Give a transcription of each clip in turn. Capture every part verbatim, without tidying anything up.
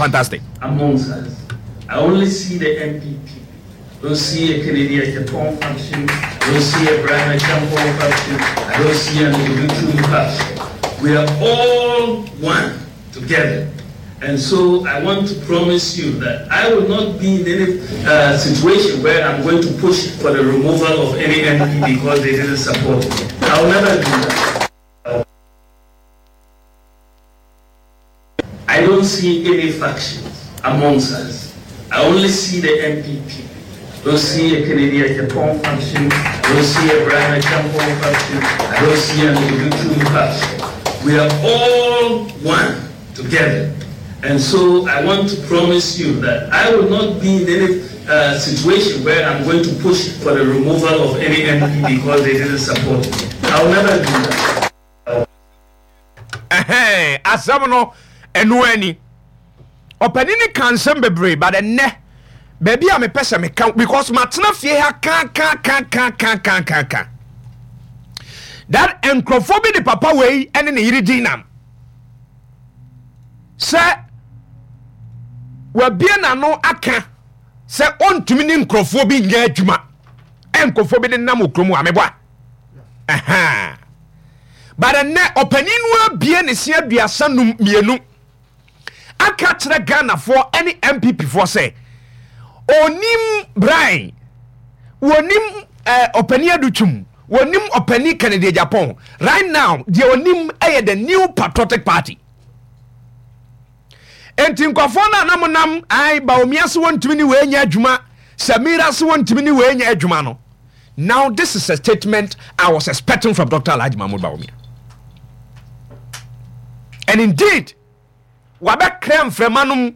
Fantastic. Amongst us. I only see the N P P. Don't see a Kennedy Agyapong faction. I don't see a Bryan Acheampong faction. I don't see an Adutwum faction. We are all one together. And so I want to promise you that I will not be in any uh, situation where I'm going to push for the removal of any M P because they didn't support me. I will never do that. I don't see any factions amongst us. I only see the N P P. Don't see a Kennedy Agyapong faction. I don't see a Bryan Acheampong faction. I don't see an Adutwum faction. We are all one together. And so I want to promise you that I will not be in any uh, situation where I'm going to push for the removal of any M P because they didn't support me. I will never do that. Ɛhɛn, asɛm no ɛno ani ɔpanin ne ka nsɛm bebree, but ɛnnɛ baabi a mepɛ sɛ meka, because matena fie ha ka ka ka ka ka ka ka ka that nkurɔfoɔ bi de papa wei ɛne ne yere din nam sɛ wabie n'ano aka sɛ ɔntumi ne nkurɔfoɔ bi nyɛ adwuma, ɛ nkurɔfoɔ bi de nam wɔ kurom a meboa ɛhɛn. But ɛnnɛ ɔpanin no abie ne se aduasa num mmienu aka kyerɛ Ghanafoɔ ne N P P foɔ sɛ onim Brian, wɔnim eh, ɔpanin Adutwum, wɔnim ɔpanin Kennedy Agyapong. Right now deɛ onim ɛyɛ the New Patriotic Party. Enti nkɔfoɔ no a nam nam ai Bawumia se wɔntumi ne wei nyɛ adwuma, Samira se wɔntumi ne wei nyɛ adwuma no, now this is a statement I was expecting from Doctor Alhaji Mahmoud Bawumia, and indeed wabɛkra mframa no mu.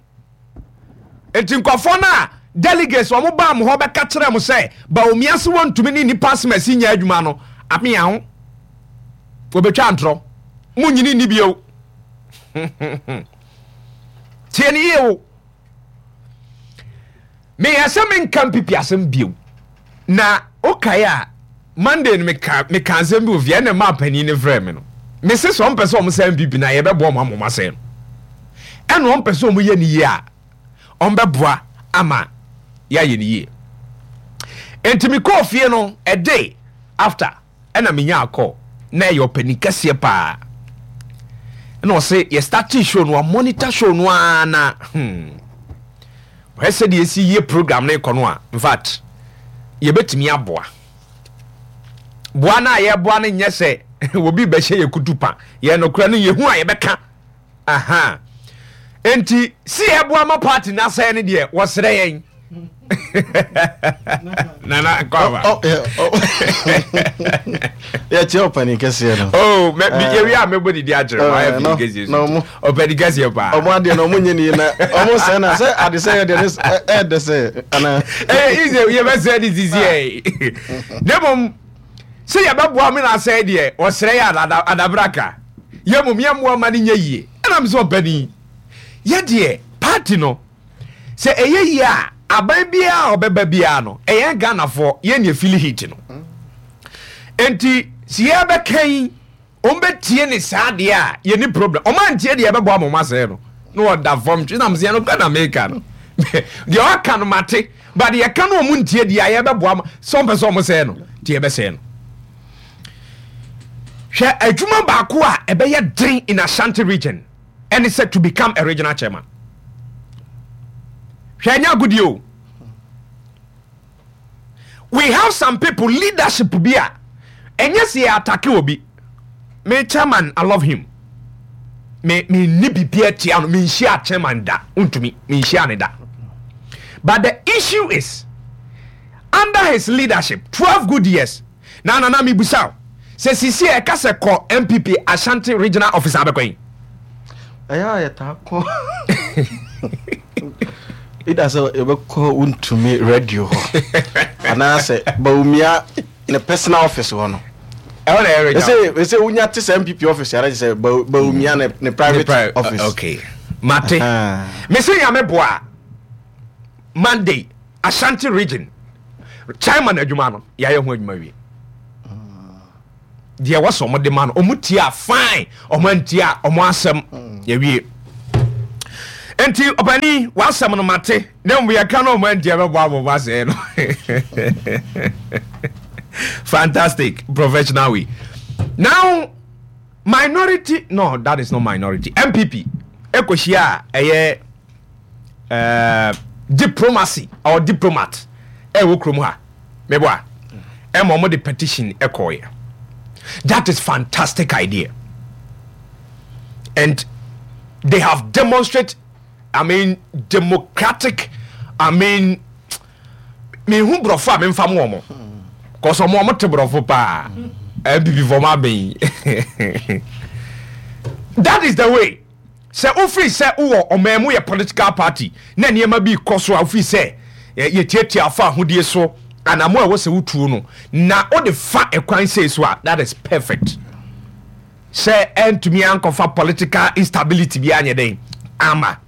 Nti nkɔfoɔ no a delegates wɔn baa mo hɔ bɛka kyerɛ mo sɛ Bawumia se wɔntumi ne nipa asɛm nyɛ adwuma no, amea ho wɔbɛtwa ntorɔ mo nyini ni bio. Tie ne yie o, meyɛ sɛ menka N P P asɛm bio na wokae a Monday no meka meka asɛm bi wɔ fie, ɛna maa panin no frɛ me no, mese sɛ ɔmpɛ sɛ ɔmo sɛ N P P na yɛbɛboa ɔmo ama ɔmo asɛe no, ɛna ɔmpɛ sɛ ɔmo yɛ ne yie a ɔmbɛboa ama yɛayɛ ne yie. Nti mekɔɔ fie no, a day after ɛna menya akɔ na ɛyɛ ɔpanin kɛseɛ paa, ɛna ɔse yɛ starting show no, a monitor show no ara na hmm ɔyɛ sɛdeɛ ɛsi yie program no kɔ no a, in fact yɛbɛtumi aboa boa no a yɛboa no nyɛ sɛ obi bɛhyɛ yɛ kutu pa, yɛ nokora no yɛhu a yɛbɛka aha. Enti si yɛboa ma party no asɛe no deɛ, wɔserɛ yɛn nana nkɔaba. Yɛkyerɛ ɔpani kɛseɛ no. Oh, me me yɛwie a mɛbɔ didi akyerɛ mo ayɛ pini kɛseɛ so ɔpani kɛseɛ paa. Ɔmo adeɛ no ɔmo nyɛ nie na ɔmo sɛ na sɛ ade sɛ yɛ deɛ ne ɛɛdɛ sɛ ana. Ɛyɛ easy, yɛbɛsɛ ne sisi ɛ ne mmom sɛ yɛbɛboa me na asɛe deɛ, ɔsrɛ yɛ adabraka yɛ mmom yɛmmoa ma no nyɛ yie. Ɛnam sɛ ɔpani yɛ deɛ party no sɛ ɛyɛ yie a, aban biara a ɔbɛba biara no, ɛyɛ Ghanafoɔ yɛn ne feel heat no. Nti si yɛbɛka yi, ɔmbɛtie ne saa deɛ a yɛni problem. Ɔma ntie deɛ yɛbɛboa ma ɔma asɛe no na ɔda fam twe nam sɛ yɛno kɔ na meka no deɛ ɔka no mate, but yɛka no ɔmo ntie deɛ a yɛbɛboa ma sɛ ɔmpɛ sɛ ɔmo sɛe no nti yɛbɛsɛe no. Hwɛ, adwuma baako a ɛbɛyɛ den in Ashanti Region ɛne sɛ to become a regional chairman. Hwɛ, ɛnyɛ agodie o. We have some people, leadership bi a ɛnyɛ sɛ yɛ attack obi. Me chairman, I love him. Me me ni bibi atia no, me nhyia chairman da, ntumi me nhyia ne da, but the issue is under his leadership twelve good years na nana mi busa o sɛ sisi a ɛka sɛ kɔ N P P Ashanti Regional Office abɛkɔ yi. Ɛyɛ a yɛtaa kɔ ida sɛ yɛbɛkɔ Wontumi radio hɔ anaasɛ Bawumia ne personal office hɔ no. Ɛhɔ na ɛyɛ regional. ɛsɛ ɛsɛ wonya te sɛ N P P office ara sɛ Bawumia ne ne private office. Okay, mate. Mese Nyame boa, Monday Ashanti Region chairman adwuma no, yɛayɛ ho adwuma wie. Deɛ wɔsɛ ɔmo de ma no, ɔmo tie a, fine, ɔmo antie a, ɔmo asɛm yɛwie. Nti ɔpani, w'asɛm no mate, na mmom yɛka no ɔmo antia bɛbɔ abɔbɔ asɛe no. Fantastic professional way. Now, minority, no, that is not minority. N P P ɛkɔhyia a ɛyɛ uh, diplomacy or diplomat ɛwɔ kurom ha, meboa ɛma ɔmo de petition ɛkɔɔyɛ. That is fantastic idea and they have demonstrate, I mean, democratic, I mean, mehu borɔfo a memfa mo ɔmo kɔsɔ ɔmo ɔmo te borɔfo paa. N P P fɔ ɔmo abɛn. That is the way. Sɛ wofiri sɛ wowɔ ɔman mu, yɛ political party na nneɛma bi kɔ so a, wofiri sɛ yɛtiatia afa ahodie so anamo a ɛwɔ sɛ wotuo no na wode fa ɛkwan sei so a, that is perfect. Sɛ ɛntumi ankɔfa political instability bi anyɛ dɛn ama,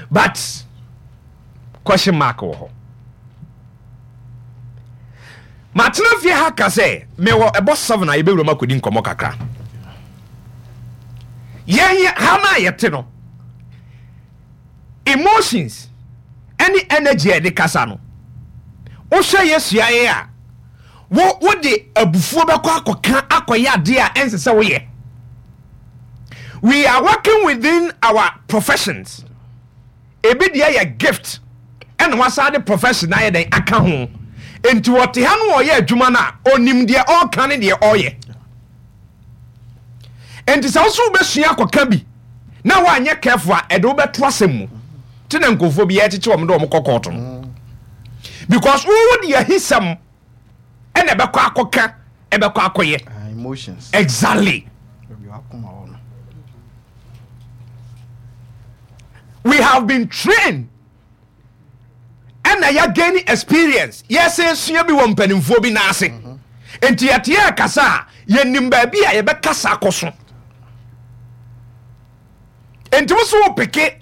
but question mark wɔ hɔ. Matena fie ha ka sɛ mewɔ ɛbɔ seven a yɛbɛwura mu akɔdi nkɔmmɔ kakra. Yɛn ha no a yɛte no, emotions ɛne energy a yɛde kasa no, wohwɛ yɛ suaeɛ a, wo wode abufuo bɛkɔ akɔka akɔyɛ adeɛ a ɛnsɛ sɛ woyɛ. We are working within our professions. Ebi deɛ yɛ gift ɛna wasa de profession ayɛ dɛn aka ho. Nti wɔte ha no, ɔyɛ adwuma no a, onim deɛ ɔreka ne deɛ ɔreyɛ. Nti sɛ woso wobɛsua akɔka bi na woanyɛ careful a, ɛde wobɛto asɛm mu. Te na nkurɔfoɔ bi yɛkyekye wɔn de wɔn kɔ kɔɔto no because wowo de ahisɛm ɛna ɛbɛkɔ akɔka, ɛbɛkɔ akɔyɛ. Ah, emotions. Exactly. Baabi wakoma wɔ no. We have been trained ɛna yɛ gain experience, yɛsɛ sua bi wɔ mpanimfoɔ bi n'ase. Nti yɛte yɛ kasa a, yɛnim baabi a yɛbɛkasa akɔ so. Nti wo so wo peke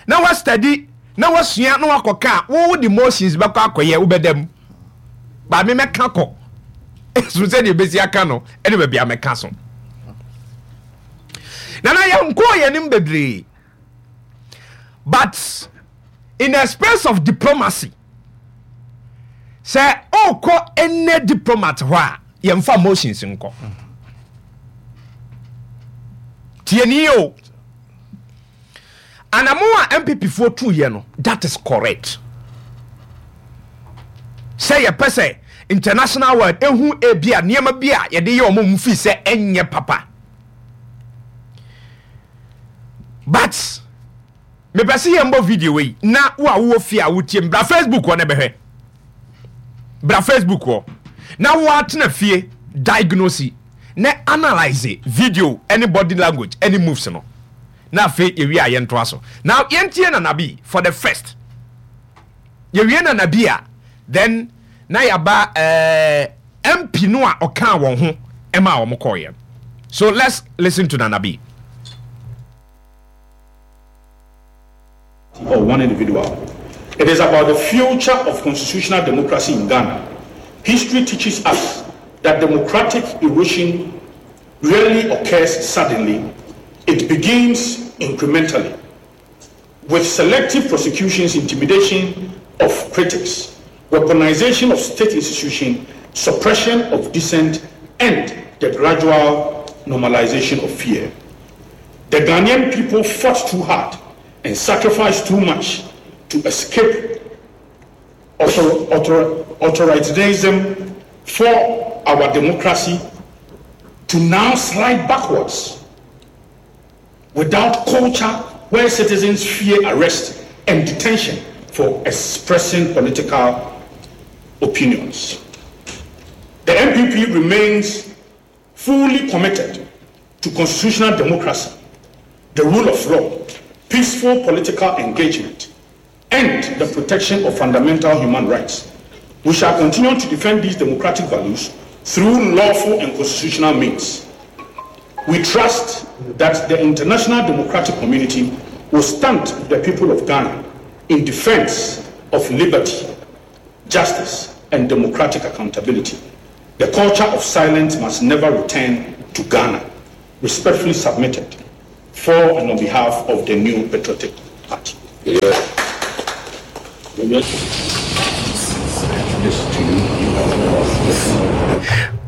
na woastadi na woasua na woakɔka a, wo de motions bɛkɔ akɔyɛ, wobɛda mu baame mɛka kɔ so sɛdeɛ ɛbɛsi aka no ɛne baabi a mɛka so. Nana, yɛnkɔɔ yɛnim bebree, but in a space of diplomacy, sɛ ɔrekɔ ɛnɛ diplomat hɔ a, yɛmfa motions nkɔ. Tie ni o, anamo a N P P foɔ tuyɛ no, that is correct. Sɛ yɛpɛ sɛ international world ehu ebi a nneɛma bi a yɛde yɛ ɔmo mu fi sɛ ɛnyɛ papa, but mepɛ sɛ yɛmbɔ video yi na wo a wowɔ fie a wotie m, bra Facebook hɔ na bɛhwɛ. Bra Facebook hɔ na woatena fie diagnose na analyse video ɛne body language ɛne moves no, na afei yɛwie a, yɛntoa so. Now yɛntie Nanabi for the first. Yɛwie Nanabi a, then na yɛaba uh, M P no a ɔkaa wɔn ho ɛma a wɔn kɔɔyɛ. So let's listen to Nanabi. Or one individual. It is about the future of constitutional democracy in Ghana. History teaches us that democratic erosion rarely occurs suddenly. It begins incrementally, with selective prosecutions, intimidation of critics, weaponization of state institutions, suppression of dissent, and the gradual normalization of fear. The Ghanaian people fought too hard and sacrificed too much to escape author, author, authoritarianism for our democracy to now slide backwards without culture where citizens fear arrest and detention for expressing political opinions. The N P P remains fully committed to constitutional democracy, the rule of law, peaceful political engagement, and the protection of fundamental human rights. We shall continue to defend these democratic values through lawful and constitutional means. We trust that the international democratic community will stand with the people of Ghana in defense of liberty, justice, and democratic accountability. The culture of silence must never return to Ghana. Respectfully submitted for and on behalf of the New Patriotic party. Yeah.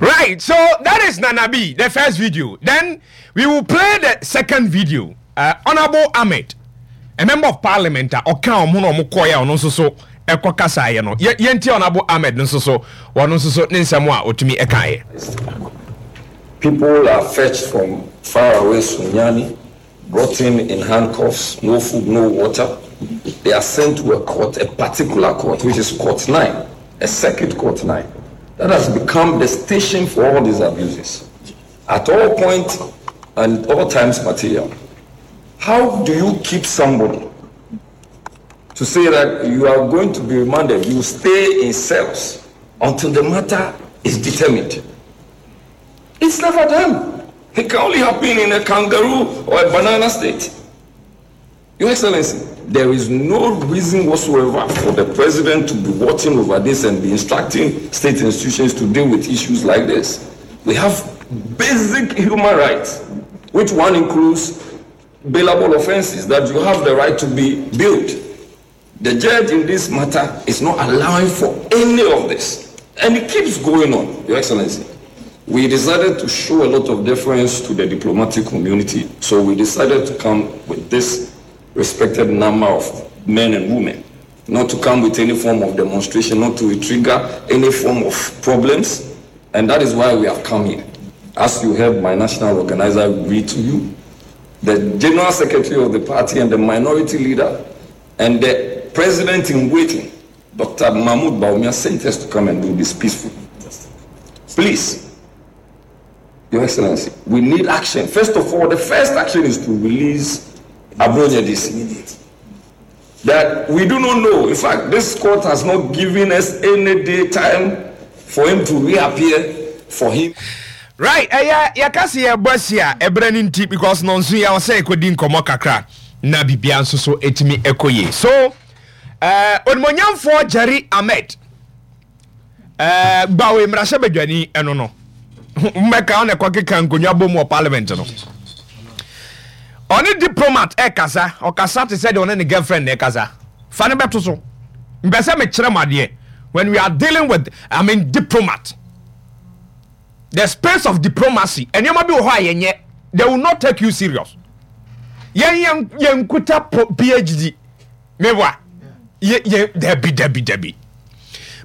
Right, so that is Nana B, the first video. Then we will play the second video. Uh, Honorable Ahmed, a member of parliament, a ɔka ɔmo na ɔmo kɔɛ a ɔno nso so ɛkɔ kasaeɛ no. Yɛ yɛnti Honorable Ahmed nso so, ɔno nso so ne nsɛm a otumi ɛkaeɛ. People are fetched from far away Sunyani, brought in in handcuffs, no food, no water. They are sent to a court, a particular court, which is Court nine, a circuit court nine. That has become the station for all these abuses. At all points and all times material. How do you keep somebody to say that you are going to be remanded, you stay in cells until the matter is determined? It's never done. It can only happen in a kangaroo or a banana state. Your Excellency, there is no reason whatsoever for the president to be watching over this and be instructing state institutions to deal with issues like this. We have basic human rights, which one includes bailable offenses, that you have the right to be bailed. The judge in this matter is not allowing for any of this. And it keeps going on, Your Excellency. We decided to show a lot of deference to the diplomatic community, so we decided to come with this respected number of men and women, not to come with any form of demonstration, not to trigger any form of problems, and that is why we have come here. As you heard my national organizer read to you, the general secretary of the party and the minority leader and the president in waiting, Doctor Mahmoud Bawumia, sent us to come and do this peacefully. Please, Your Excellency, we need action. First of all, the first action is to release Abronye D C. That we do not know. In fact, this court has not given us any day time for him to reappear, for him. Right, ɛyɛ yɛka se yɛbɔ asi a ɛberɛ no nti, because no nso yɛ sɛ ɛkɔdi nkɔmmɔ kakra na biribia nso so ɛtumi ɛkɔ yie. So uh, onimonyamfoɔ Jerry Ahmed uh, Gbawe mmarahyɛ badwani, ɛno no mmɛka ɔna ɛkɔkeka nkonnwa bɔ mu wɔ parliament no, ɔne diplomat ɛkasa, ɔkasa te sɛ deɛ ɔne ne girlfriend na ɛkasa. Fa ne bɛto so. Mpɛ sɛ mekyerɛ mo adeɛ. When we are dealing with, I mean, diplomat, the space of diplomacy, nneɛma bi wɔ hɔ a yɛnyɛ, they will not take you serious. Yɛn yɛn yɛn kuta P H D meboa yɛ yɛ dabi dabi dabi,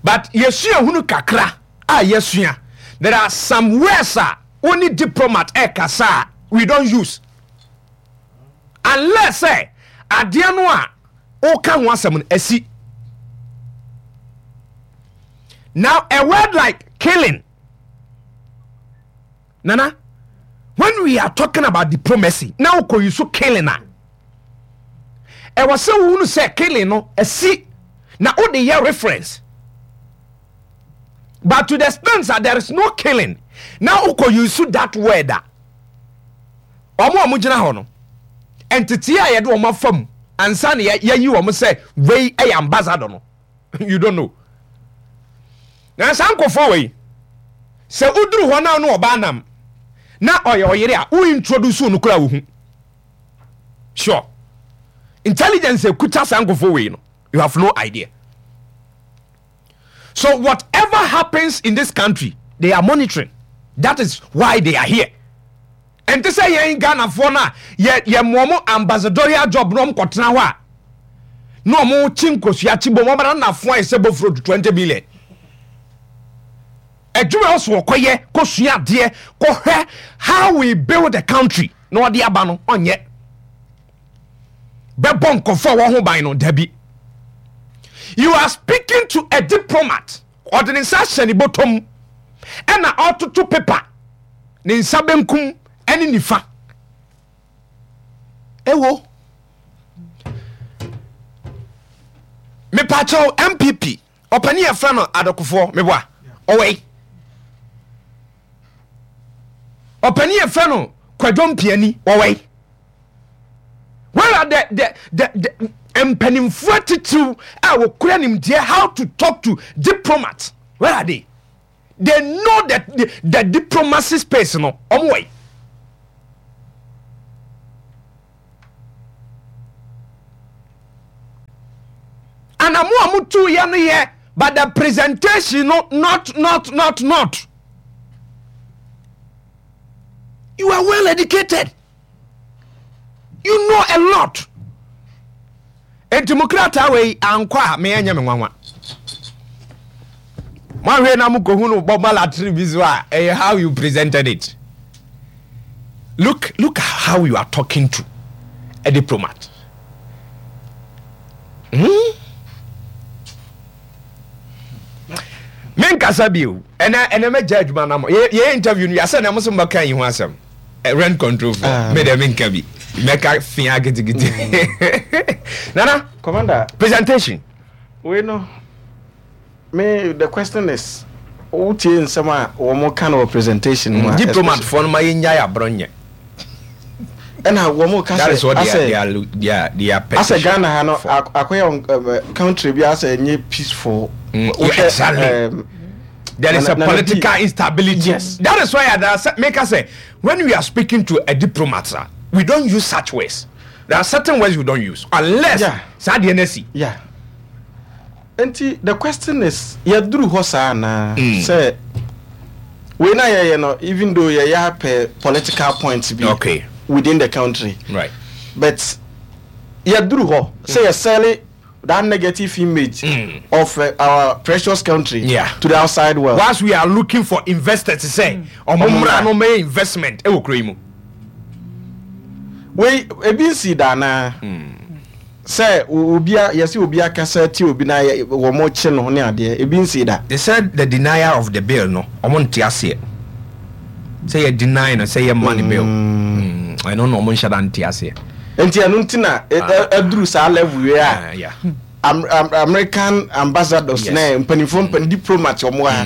but yɛsua hunu kakra a yɛsua. There are some words a only diplomat ɛkasa a we don't use unless sɛ adeɛ no a woka ho asɛm no asi. Now, a word like killing, Nana, when we are talking about diplomacy na wokɔ yi so killing a, ɛwɔ sɛ wohunu sɛ killing no asi na wode yɛ reference. But to the extent that there is no killing na wokɔ use that word a, ɔmo a ɔmo gyina hɔ no, nteteɛ a yɛde ɔmo afa mu ansa na yɛyi wɔn sɛ wei yɛ ambassador no, you don't know. Na saa nkɔfoɔ wei sɛ woduru hɔ na no ɔbaa nam na ɔyɛ ɔyere a wo introduce no kora, wohu sure intelligence ekuta saa nkɔfoɔ wei no, you have no idea. So whatever happens in this country, they are monitoring. That is why they are here. Ɛnte sɛ yɛn Ghanafoɔ no a yɛ yɛ mmoa ambassadorial job na ɔmo kɔtena hɔ a na ɔmo kyi nkosua kyi bom, ɔmo na nafo ayɛ sɛ bofuro twenty million. Adwuma ɔso ɔkɔyɛ kɔsua adeɛ kɔhwɛ how we build the country na ɔde aba no, ɔnyɛ bɛbɔ nkɔfo a wɔn ho ban no dabi. You are speaking to a diplomat. Ɔde ne nsa ahyɛ ne bɔtɔm ɛna ɔtoto paper, ne nsa benkum ɛne nifa. Ewo mepakyɛw, N P P ɔpani yɛfrɛ no Adokofoɔ meboa ɔwɔ yi, ɔpani yɛfrɛ no Kwadwo Mpiani ɔwɔ yi. Where are the the the, the mpanimfoɔ titiriw a wɔkura nimdeɛ how to talk to diplomats? Where are they? They know that the, the diplomacy space no, ɔmo wɔ yi. Anamo a motu yɛ no yɛ, but the presentation no, not not not not. You are well educated, you know a lot. Enti mo krataa wei ankɔ a, meyɛ nyɛ me nwanwa. Moahwɛ na mokɔhu no bɔ malatry bi so a, ɛyɛ how you presented it. look look how you are talking to a diplomat hmm? Menkasa bio. Ɛnɛ ɛnɛ mɛgya adwuma no ma yɛyɛ interview no yɛasɛ na mo so mbɛka yi ho asɛm. eh, rent control for uh, me dɛ menka bi, mɛka fia kitikiti mm. Nana Commander. Presentation. Wei no, me the question is, wotie nsɛm a wɔn ka no wɔ presentation mu a, diplomat foɔ no ma yɛnyae aborɔ nyɛ. Ɛna wɔn ka That is sɛ what they are, asɛ they are, they are, they are asɛ petition Ghana ha no for. ak- akɔyɛ um, country bi asɛ nye peaceful. Mm, yeah, wohwɛ exactly. um, There is Nana a Nana B political instability. Yes. That is why I make us say, when we are speaking to a diplomat, sir, we don't use such words. There are certain words we don't use unless Yeah. saa deɛ no asi. Yeah, nti the question is, yɛduru hɔ saa anaa sɛ wei na yɛyɛ no, even though yɛyɛ apɛ political points bi Okay. within the country, Right. but yɛduru hɔ sɛ yɛsɛle that negative image Mm. of uh, our precious country Yeah. to the outside world. Whilst we are looking for investors sɛ ɔmo mmra no mɛyɛ investment ɛwɔ kuro yi mu. Wei ebi nsi da anaa sɛ o- obi a yɛsɛ obi akasa ti obi na yɛ- wɔn mo kye no ne adeɛ, ebi nsi da? They said the denial of the bill no, ɔmo nte aseɛ sɛ yɛ deny no sɛ yɛ money bill. Mm, ɛno na ɔmo nhyɛ da nte aseɛ. Nti ɛno nti na ɛ- ɛ- ɛduru saa level wei a Ah, yeah. Am- Am- American ambassadors Yes. na mpanimfoɔ mpan diplomat ɔmo ha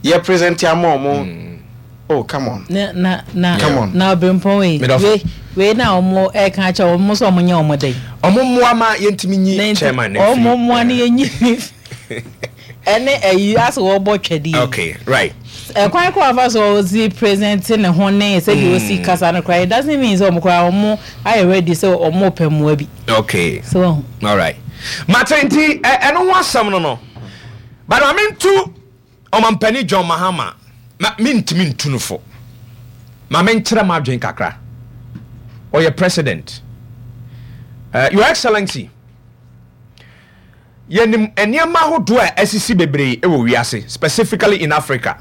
yɛ present ama ɔmo. Oh, come on. Na na na Come on. Na ɔbɛnpɔn wei Medɔfo. wei wei na ɔmo ɛka kyɛ ɔmo sɛ ɔmo nyɛ ɔmo den. Ɔmo mmoa ma yɛntumi Na nyi nti chairman no ɔmo mfiri. mmoa no yɛnyi ne ɛne ɛyi asɛ wɔbɔ twɛdeɛ. Okay, right. Ɛkwan kɔ afa so ɔsi present ne ho ne sɛdeɛ osi kasa no koraa, it doesn't mean sɛ ɔmo koraa ɔmo ayɛ ready sɛ ɔmo pɛ mmoa bi. Okay. So ɔho. All right, mate. Nti ɛ- ɛno ho asɛm no no but ma mentu ɔmampani John Mahama ma mentumi ntu no fo. Ma menkyerɛ ma adwen kakra. Ɔyɛ president. uh, your Excellency, yɛnim nneɛma ahodoɔ a asisi bebree wɔ wiase, specifically in Africa.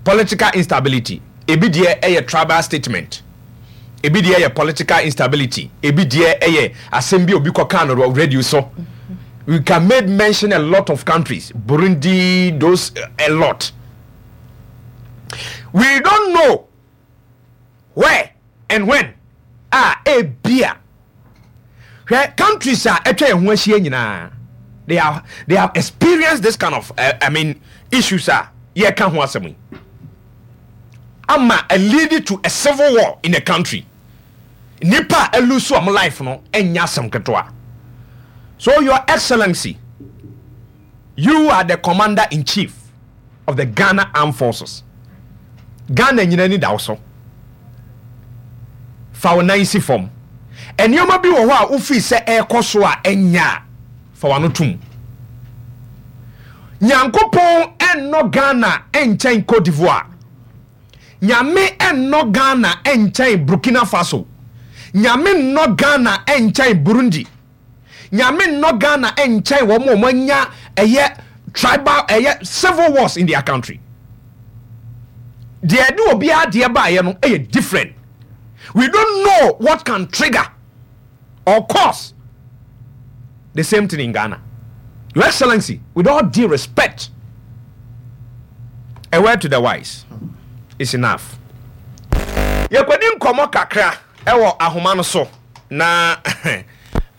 Political instability, ebi deɛ ɛyɛ tribal statement, ebi deɛ yɛ political instability, ebi deɛ ɛyɛ asɛm bi a obi kɔka no wɔ radio so. We can make mention a lot of countries, Burundi, those uh, a lot. We don't know where and when a ebia hwɛ countries a atwa yɛn ho ahyia nyinaa, they have they have experienced this kind of uh, I mean, issues a yɛka ho asɛm yi ama a lead to a civil war in the country. Nipa a ɛlose ɔmo life no ɛnyɛ asɛm ketewa. So, Your Excellency, you are the commander in chief of the Ghana Armed Forces. Ghana nyina ni da wo so. Fa wo nan si fam. Nneɛma bi wɔ hɔ a wofii sɛ ɛrekɔ so a ɛnyɛ a, fa w'ano tom. Nyankopɔn ɛnnɔ Ghana ɛnkyɛn Cote d'Ivoire. Nyame ɛnnɔ Ghana ɛnkyɛn Burkina Faso. Nyame nnɔ Ghana ɛnkyɛn Burundi. Nyame nnɔ Ghana ɛnkyɛn wɔn a wɔn anya ɛyɛ tribal, ɛyɛ civil wars in their country. Deɛ ɛde obiara deɛ baayɛ no ɛyɛ different. We don't know what can trigger or cause the same thing in Ghana. Your Excellency, with all due respect, a word to the wise is enough. Yɛkɔdi nkɔmmɔ kakra ɛwɔ ahoma no so na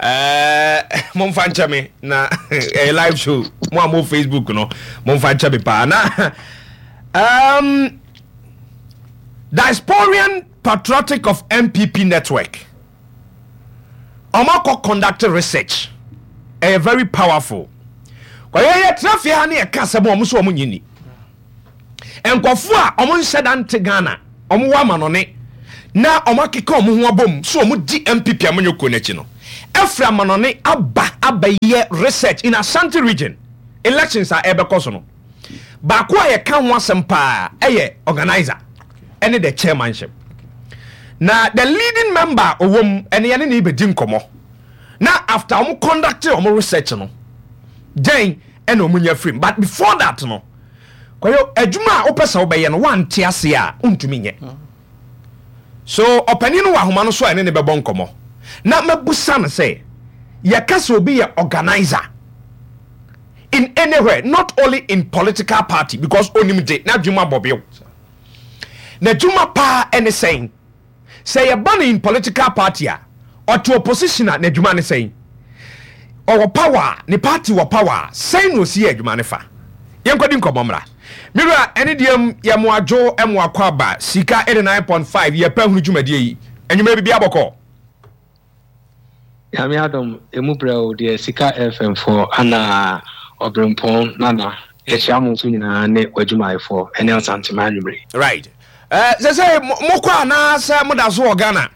ɛɛ momfa nkyɛ me na ɛyɛ live show. Mo a mo Facebook no, momfa nkyɛ me paa. Na um, Diasporian Patriotic of N P P Network ɔmo akɔ conduct research, ɛyɛ very powerful. Kɔyɛ yɛtena fie ha ne yɛka asɛm a ɔmo so ɔmo nyini nkɔfo a ɔmo nhyɛ da nte Ghana, ɔmo wɔ amanɔne na ɔmo akeka ɔmo ho abom so ɔmo di N P P amanyɔkuo n'akyi no. Ɛfiri amanɔne aba abɛyɛ research in Ashanti Region elections a ɛbɛkɔ so no. Baako a yɛka ho asɛm paa ɛyɛ organizer ɛne the chairmanship. Na the leading member a ɔwɔ mu ɛne yɛne ne bɛdi nkɔmmɔ. Na after wɔn conduct wɔn research no, gyɛn ɛna wɔn nya firim. But before that no, Kwadwo, adwuma a wopɛ sɛ wobɛyɛ no, woante ase a, wontumi nyɛ. So ɔpanin no wɔ ahoma no so a ɛne ne bɛbɔ nkɔmmɔ. Na mabusa no sɛ, yɛka sɛ obi yɛ organizer in anywhere, not only in political party, because onim de, n'adwuma abɔ bew. N'adwuma paa ɛne sɛn? Sɛ yɛba no in political party a, ɔte opposition a, n'adwuma ne sɛn? Ɔwɔ power a, ne party wɔ power a, sɛn na osi yɛ adwuma ne fa? Yɛnkɔdi nkɔmmɔ mmra. Mewura, ɛne deɛ m yɛ mo adwo mo akɔ aba Sika eighty-nine point five yɛpɛ hunu dwumadie yi. Anwummerɛ biribi abɔkɔ. Nyame adom, emu brɛ o deɛ Sika F M foɔ ana Ɔberempɔn Nana, yɛkyia mo nso nyinaa ne w'adwumayɛfoɔ ɛne Asantema anwummere. Right. Uh, sɛ sɛ mokɔ anaasɛ moda so wɔ Ghana?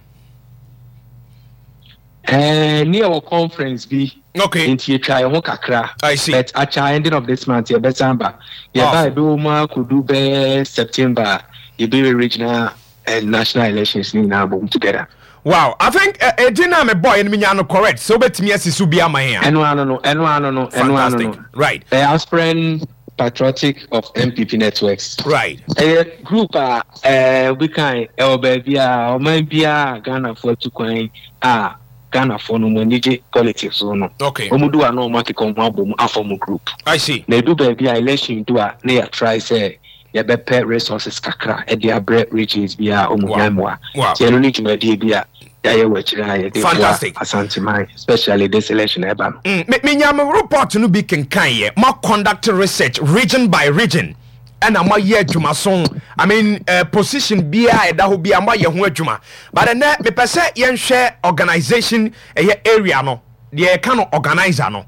Ɛɛ ne yɛwɔ conference bi. Okay. Nti yɛtwa yɛn ho kakra. I see. But akyɛ ending of this month yɛbɛsan ba. Yɛba ɛbɛwɔ mu akɔdu bɛyɛ September a yɛbɛyɛ regional and national elections ne nyinaa bom together. Wow, I think edin na me boy no menya no correct. So wobɛtumi asi so bi ama yɛn a. Ɛno ano no, ɛno ano no, ɛno ano no. Right. Ɛyɛ Aspirant Patriotic of N P P Networks. Right. Ɛyɛ group a ɛɛ obi kan ɛwɔ baabi a ɔman biara Ghanafoɔ atu kwan a Ghanafoɔ no mo ani gye politics so no. Okay. Wɔn do a na wɔn akeka wɔn abɔ mu afɔ group. I see. Na edu baabi a election do a ne yɛ try sɛ yɛbɛpɛ resources kakra ɛde abrɛ regions bi a wɔn hia mmoa. Wow. Ti ɛno ne dwumadie bi a yɛayɛ wɔ akyire a yɛde boa Fantastic. Asanteman, especially this election ɛba no. Mm, me menya me report no bi kenkan yɛ. Ma conduct research region by region. Ɛna moayɛ adwumaso, I mean, uh, position biara ɛda hɔ biara moayɛ ho adwuma, but ɛnɛ mepɛ sɛ yɛnhwɛ organisation ɛyɛ area no deɛ yɛka no organizer no.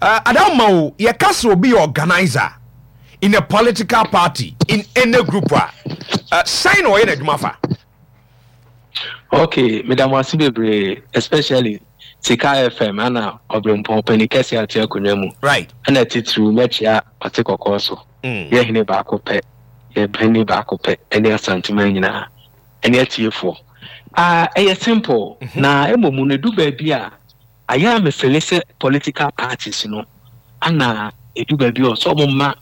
uh, adama o, yɛka sɛ obi yɛ organizer in a political party, in any group a, uh, sɛn na ɔyɛ n'adwuma fa? Okay, meda mo ase bebree, especially Sika F M ana Ɔberempɔn panin kɛse ate akonnwa mu. Right ɛna titiriw mɛkyia ɔte kɔkɔɔ so. mm. Yɛ hene baako pɛ, yɛ panyin baako pɛ, ɛne Asanteman nyinaa ɛne atiefoɔ. Ah, ɛyɛ simple na mmom no edu baabi a ayɛ a mefele sɛ political parties no ana edu baabi a ɔsɛ ɔmo ma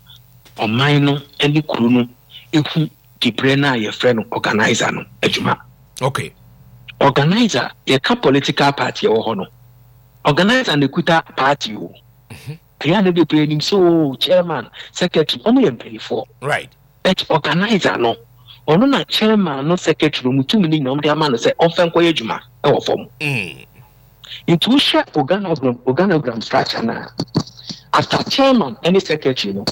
ɔman no ne kuro no ehu dibrɛ no a yɛfrɛ no organizer no adwuma. Okay organizer, yɛka political party ɛwɔ hɔ no, organizer na ekuta party o. Ɛyɛ a na bebree nim sɛ o chairman, secretary, ɔmo yɛ mpanyinfoɔ. Right but organizer no, ɔno na chairman no, secretary no mu tumi no nyinaa ɔmo de ama no sɛ ɔmfɛ nkɔyɛ adwuma ɛwɔ fam. mm. Nti wohwɛ organogram organogram structure na after chairman ɛne secretary no,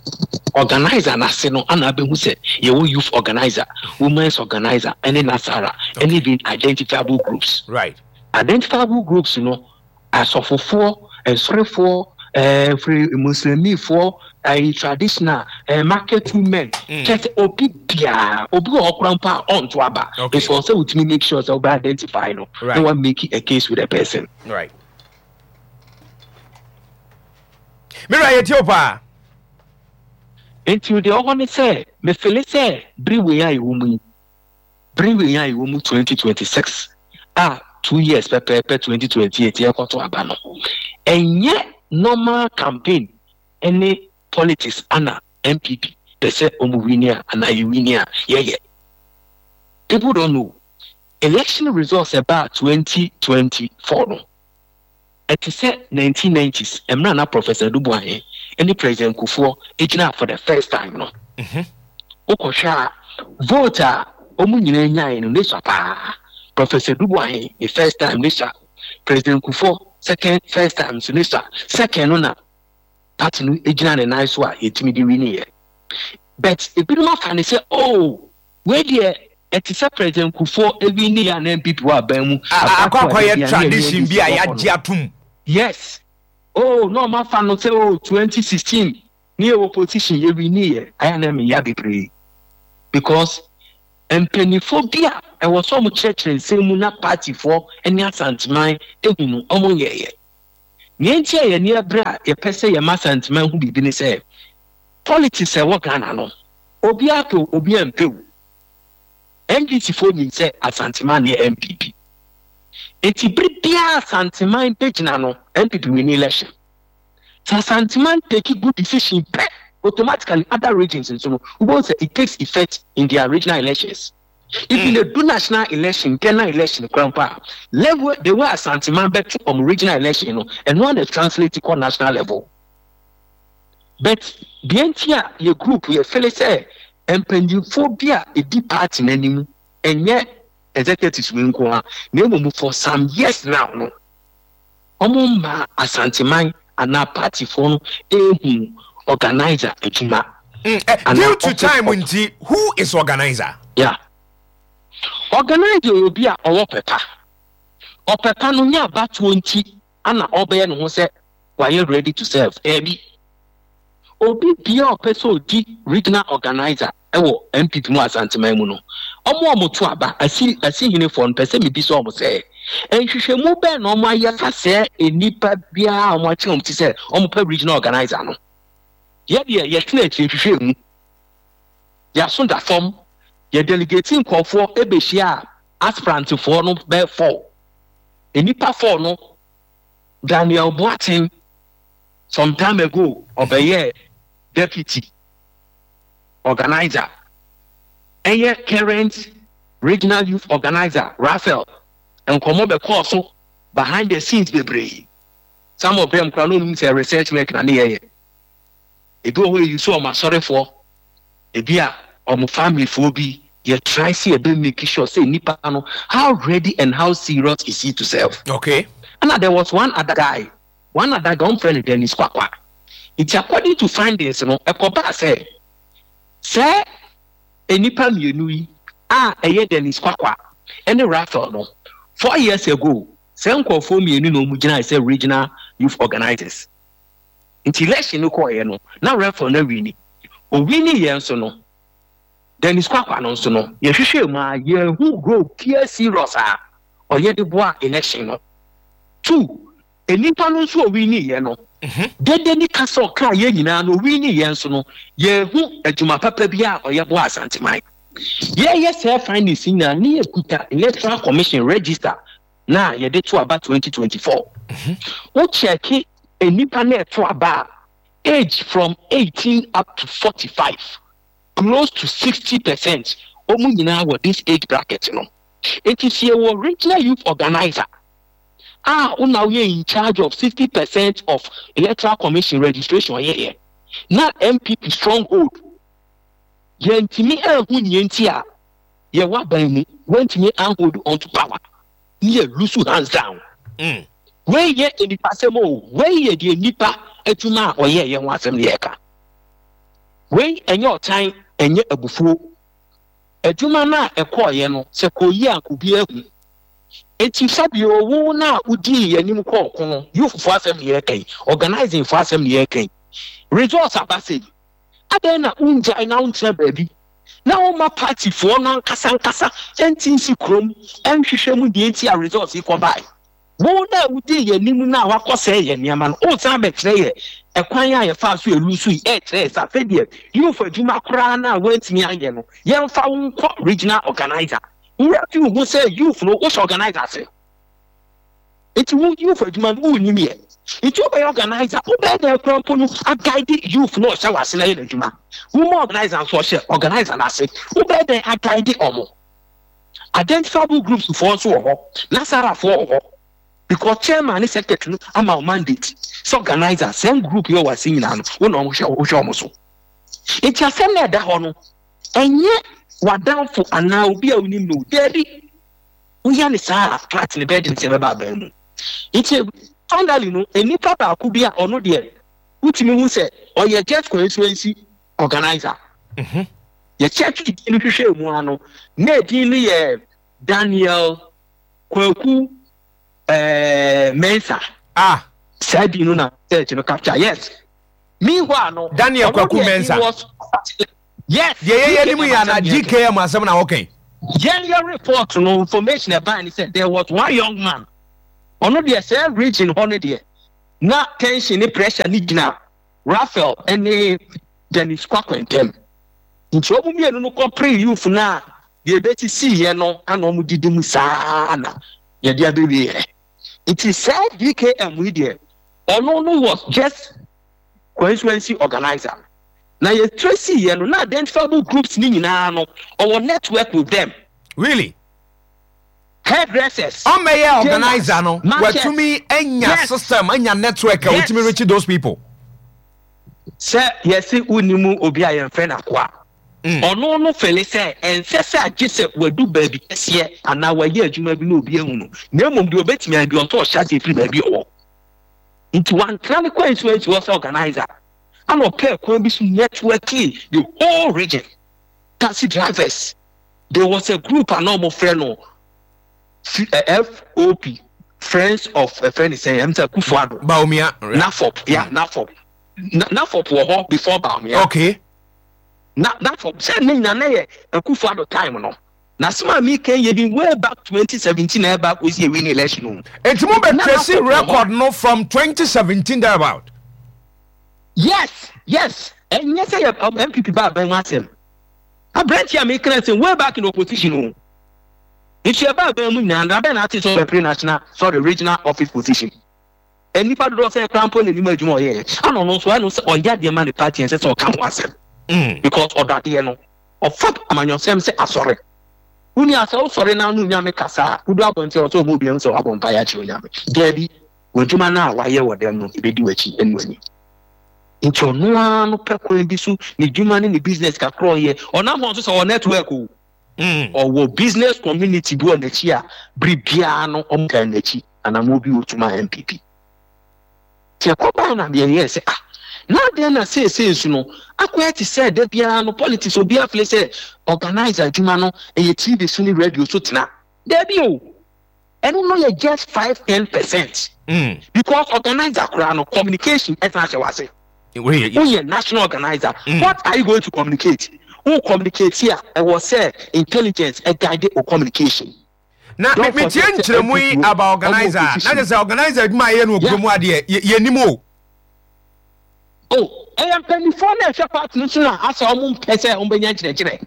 organizer n'ase no ana abɛhu sɛ yɛwɔ youth organizer, women's organizer ɛne nasara ɛne even identifiable groups. Right identifiable groups no, asɔfofoɔ, nsɔrefoɔ, ɛɛ firi muslimifoɔ, ɛɛ traditional, ɛɛ market women. Mm. Kyerɛ sɛ obi biara, obi wɔ hɔ koraa mpo a ɔnto aba. Okay. Nso ɔsɛ wotumi make sure sɛ wobɛ identify no Right. na wa make a case with the person. Right, mewura, yɛtie wo paa. Nti deɛ ɔwɔ ne sɛ mefele sɛ bere wei a ɛwɔ mu yi, bere wei a ɛwɔ mu twenty twenty-six a two years pɛpɛɛpɛ twenty twenty-eight yɛkɔto aba no, ɛnyɛ normal campaign ɛne politics ana N P P pɛ sɛ ɔmo win a anaa yɛ win a yɛyɛ. People don't know election results ɛbaa twenty twenty-four no, ɛte sɛ nineteen nineties mmerɛ na Professor Adu Boahen ɛne President Kufuor gyina for the first time no. Mhm. Wokɔhwɛ a, vote a ɔmu nyinaa nyae no ne sua paa. Professor Adu Boahen ne first time ne sua, President Kufuor second first time nso ne sua. Second no na party no gyina ne nan so a yɛtumi de winiɛ, but ebinom afa ne sɛ, oh, wei deɛ ɛte sɛ President Kufuor ewini a na N P P wɔ aban mu. Akɔ abatoɔ a akɔyɛ yɛde a na yɛne tradition bi a N D C wɔ hɔ no. yɛagye atom. Yes, oh, na ɔmo afa no sɛ, oh, twenty sixteen ne yɛ wɔ position yɛ wini yɛ ayɛ na meya bebree because Mpanimfoɔ bi a ɛwɔ sɛ ɔmo kyerɛkyerɛ nsɛm mu na partyfoɔ ne Asanteman ehu no, ɔmo nyɛɛyɛ. Nea nti a yɛni abere a yɛpɛ sɛ yɛma Asanteman ho biribi ne sɛ politics a ɛwɔ Ghana no, obiara pɛ o, obiara mpɛ o, N D C foɔ nim sɛ Asanteman ne N P P. Eti bere biara Asanteman bɛgyina no, N P P win election. Sɛ Asanteman take good decision pɛ, automatically other regions nso no, wobɛhu sɛ it takes effect in their regional elections. If mm. they do national election, general election koraa mpo a, level the way Asanteman bɛto ɔmo regional election no, ɛno ana translate kɔ national level. But deɛ nti a yɛ group yɛ feel sɛ mpanyinfoɔ bi a edi party n'anim, ɛnyɛ executives wei nko a, na mmom for some years now no, ɔmo mmaa Asanteman anaa partyfoɔ no ehu organizer adwuma. Mm, eh, due to time nti, who is organizer? Yeah, organizer yɛ obi a ɔwɔ pɛpa. Ɔpɛpa no nyɛ abatoɔ nti ana ɔbɛyɛ ne ho sɛ wayɛ ready to serve. Ɛbi obi bia a ɔpɛ sɛ ɔdi regional organizer ɛwɔ N P P mu, Asanteman mu no, ɔmo a ɔmo to aba asi asihenefoɔ no pɛ sɛ mebi sɛ ɔmo sɛ nhwehwɛmu bɛn na ɔmo ayɛ fa sɛ nnipa biara a ɔmo akyerɛ ɔmo ti sɛ ɔmo pɛ regional organizer no. Yɛdeɛ yɛtena akyire hwehwɛ mu, yɛaso da fam, yɛ delegate nkɔfoɔ ɛbɛhyia a aspirantfoɔ no bɛyɛ four, nnipa four no. Daniel Boateng, some time ago ɔbɛyɛ deputy organizer. Ɛyɛ current regional youth organizer Raphael, nkɔmɔ bɛkɔɔ so behind the scenes bebree. Some of them kora no onim sɛ research work na ne yɛyɛ. Ebi wɔ hɔ eyi so ɔmo asɔrefoɔ, ebi a ɔmo familyfoɔ bi. Yɛ try sɛ yɛbɛ make sure sɛ nipa no, how ready and how serious is he to serve. Okay Ɛna there was one other guy one other guy ɔmfrɛ no Dennis Kwakwa. Nti according to findings no, ɛkɔbaa sɛ sɛ nnipa mmienu yi a ɛyɛ Dennis Kwakwa ɛne Raphael no, four years ago sɛ nkurɔfoɔ mmienu na wɔn gyina sɛ regional youth organizers. Nti election no kɔɔeɛ no, na Raphael no awin. Owin yɛn nso no, Dennis Kwakwa no nso no, yɛhwehwɛ mu a yɛhu role pure serious a ɔyɛ de boa election no. Two, nnipa no nso owin yɛ no dede ne kasa ɔka yɛn nyinaa no, owin yɛn nso no, yɛhu adwuma papa bi a ɔyɛ boa Asanteman. Yɛyɛ sɛ findings nyinaa ne yɛkuta Electoral Commission register na yɛde to aba twenty twenty-four. Wo check nnipa na ɛto aba a, age from eighteen up to forty-five, close to sixty percent, wɔn nyinaa wɔ this age bracket no. Nti sɛ yɛwɔ regional youth organizer a wona woyɛ in charge of sixty percent of Electoral Commission registration yɛyɛ na N P P stronghold, yɛntumi anhu nea nti a yɛwɔ aban mu wɔntumi anhold on to power ne yɛ lose hands down. Mm. Wei yɛ nipa asɛm o, wei yɛ deɛ nipa adwuma a ɔyɛ yɛ ho asɛm ne yɛka. Wei ɛnyɛ ɔtan, ɛnyɛ abufuo. Adwuma no a ɛkɔɔyɛ no sɛ kɔyi a obi ahu. Eti sɛbi owu no a wodii yɛn anim kɔɔ ko no, youthfoɔ asɛm ne yɛka yi, organizing foɔ asɛm ne yɛka yi. Results aba sɛ yi, adɛn na wongyae na wontena baabi na woma partyfoɔ no ankasa ankasa ɛnti nsi kurom ɛnhwehwɛ mu deɛ nti a results yi kɔbae? Wo na wodi yɛn anim no a wakɔ sɛ yɛ nneɛma no, wosan bɛkyerɛ yɛ ɛkwan a yɛfa so elu so yi, ɛkyerɛ yɛ sɛ afei deɛ youth adwuma koraa no a woantumi anyɛ no, yɛmfa wo nkɔ regional organizer. Wura fi wo ho sɛ youth no wohyɛ organizer ase, nti wo youth adwuma no wonnim yɛ, nti wobɛyɛ organizer, wobɛyɛ dɛ kora mpo no aguide youth no ɔhyɛ w'ase na yɛ n'adwuma. Woma organizer nso ɔhyɛ organizer n'ase, wobɛyɛ dɛ aguide ɔmo. Identifiable groups foɔ nso wɔ hɔ, nasarafoɔ wɔ hɔ, because chairman ne secretary no ama wo mandate sɛ organizer sɛn group yɛ wɔ ase nyinaa no, wo na ɔmo hwɛ, wohwɛ ɔmo so. Nti asɛm na ɛda hɔ no, ɛnyɛ w'adamfo anaa obi a wonim no. Daabi, woyɛ ne saa a, party ne bɛyɛ de nsɛm bɛba aban mu. Nti finally no, nipa baako bi a ɔno deɛ wotumi hu sɛ ɔyɛ just constituency organizer. Mhm. Yɛkyɛke din no hwehwɛ mu ano na edin no yɛ Daniel Kwaku ɛɛ Mensa. Ah. Saa din no na search no capture. Yes, meanwhile no, Daniel ɔno Kwaku deɛ, Mensah. he was, yes. Deɛ yɛyɛ anim yɛ ana G K M. G K M asɛm na wɔkɛn. Yɛn yɛ report no, information ɛbaa ni sɛ there was one young man, ɔno deɛ, sɛ region hɔ no deɛ, na tension ne pressure ne gyina Raphael ne Dennis Kwakwa ntam, nti wɔn mmienu no kɔpere youth no a deɛ ebesisi yɛ no ana wɔn didi mu saa na yɛde abɛwie yɛ. Nti saa D K M yi deɛ, ɔno no was just constituency organizer na yɛ trace yɛ no na identifiable groups ni nyinaa no, ɔwɔ network with them. Really? Hairdressers. Ɔmɛyɛ organizer no, watumi anya Yes. system, anya network a Yes. wotumi reach those people. Sɛ yɛsi wunimu obi a yɛmfrɛ no akoa, Mm. ɔno no feel sɛ ɛnsɛ sɛ agye sɛ wadu baabi kɛseɛ anaa wayɛ adwuma bi na obi ahu no, na mmom deɛ obɛtumi ayɛ bi, ɔntɔ ɔhyɛ aseɛ firi baabi ɔwɔ. Nti wantena ne kwan so ansi hɔ sɛ organizer, ana ɔpɛɛ kwan bi so networking the whole region, taxi drivers. There was a group a na ɔmo frɛ no F- eh, F O P, Friends of ɛfrɛ ne sɛn, ɛm sɛ Akufo-Addo. Bawumia. Nafop, yeah, Nafop. Na Nafop wɔ hɔ before Bawumia. Okay na Nafop sɛ ne nyina na yɛ Akufo-Addo time no na sima mi kan yɛ bi way back twenty seventeen na ɛba akɔsi ewi ne election o. Nti mo bɛ Na trace Nafop wɔ hɔ. record no from twenty seventeen thereabout? yes yes ɛnyɛ sɛ yɛ um, N P P ba abɛn ho asɛm. Aberante a mekra sɛ way back in opposition o, nti ɛba abɛn mu nyinaa na abɛn na ate sɛ ɔbɛpere national, sorry, regional office position. Nnipa dodoɔ sɛ ɛkora mpo n'anim adwuma ɔyɛɛ ana ɔno nso ɛno sɛ ɔyɛ adeɛ ma ne party, ɛnsɛ sɛ ɔka ho asɛm Mm. because ɔdɔ adeɛ no. Ɔfa amanyɔsɛm sɛ asɔre woni asɛ wosɔre na no Nyame kasa a wodu abɔnten ɔ sɛ ɔma obiam sɛ wabɔ mpa yɛ akyerɛ Onyame daabi, w'adwuma no a wayɛ wɔ dɛm no ɛbɛdi w'akyi ɛne w'anim. Nti ɔno ara no pɛ kwan bi so ne dwuma ne ne business kakra ɔyɛ, ɔnam hɔ nso sɛ ɔwɔ network o. Mm. Ɔwɔ business community bi wɔ n'akyi a bere biara no ɔmo taa n'akyi anam obi otuma N P P. Tí ɛkɔ baa na deɛ yɛ sɛ, ah, na adeɛ na seesei nso no akɔyɛ te sɛ da biara no politics, obi afeel sɛ organizer adwuma no ɛyɛ T V so ne radio so tena. Daabi o, ɛno no yɛ just five ten percent Mm. because organizer koraa no, communication ɛsan ahyɛ wase. Wei yɛ- Woyɛ national organizer, Mm. what are you going to communicate? Wo communicate a, ɛwɔ sɛ intelligence ɛguide o communication. Na Don't me metie forget sɛ nkyerɛmu yi N P P aba organizer a, na opposition. kyerɛ sɛ organizer adwuma a yɛyɛ no wɔ kurom adeɛ yɛ- yɛnim o. Oh, ɛyɛ mpanimfoɔ na ɛhwɛ party no so na asɛ ɔmo mpɛ sɛ ɔmo bɛnya nkyerɛkyerɛ.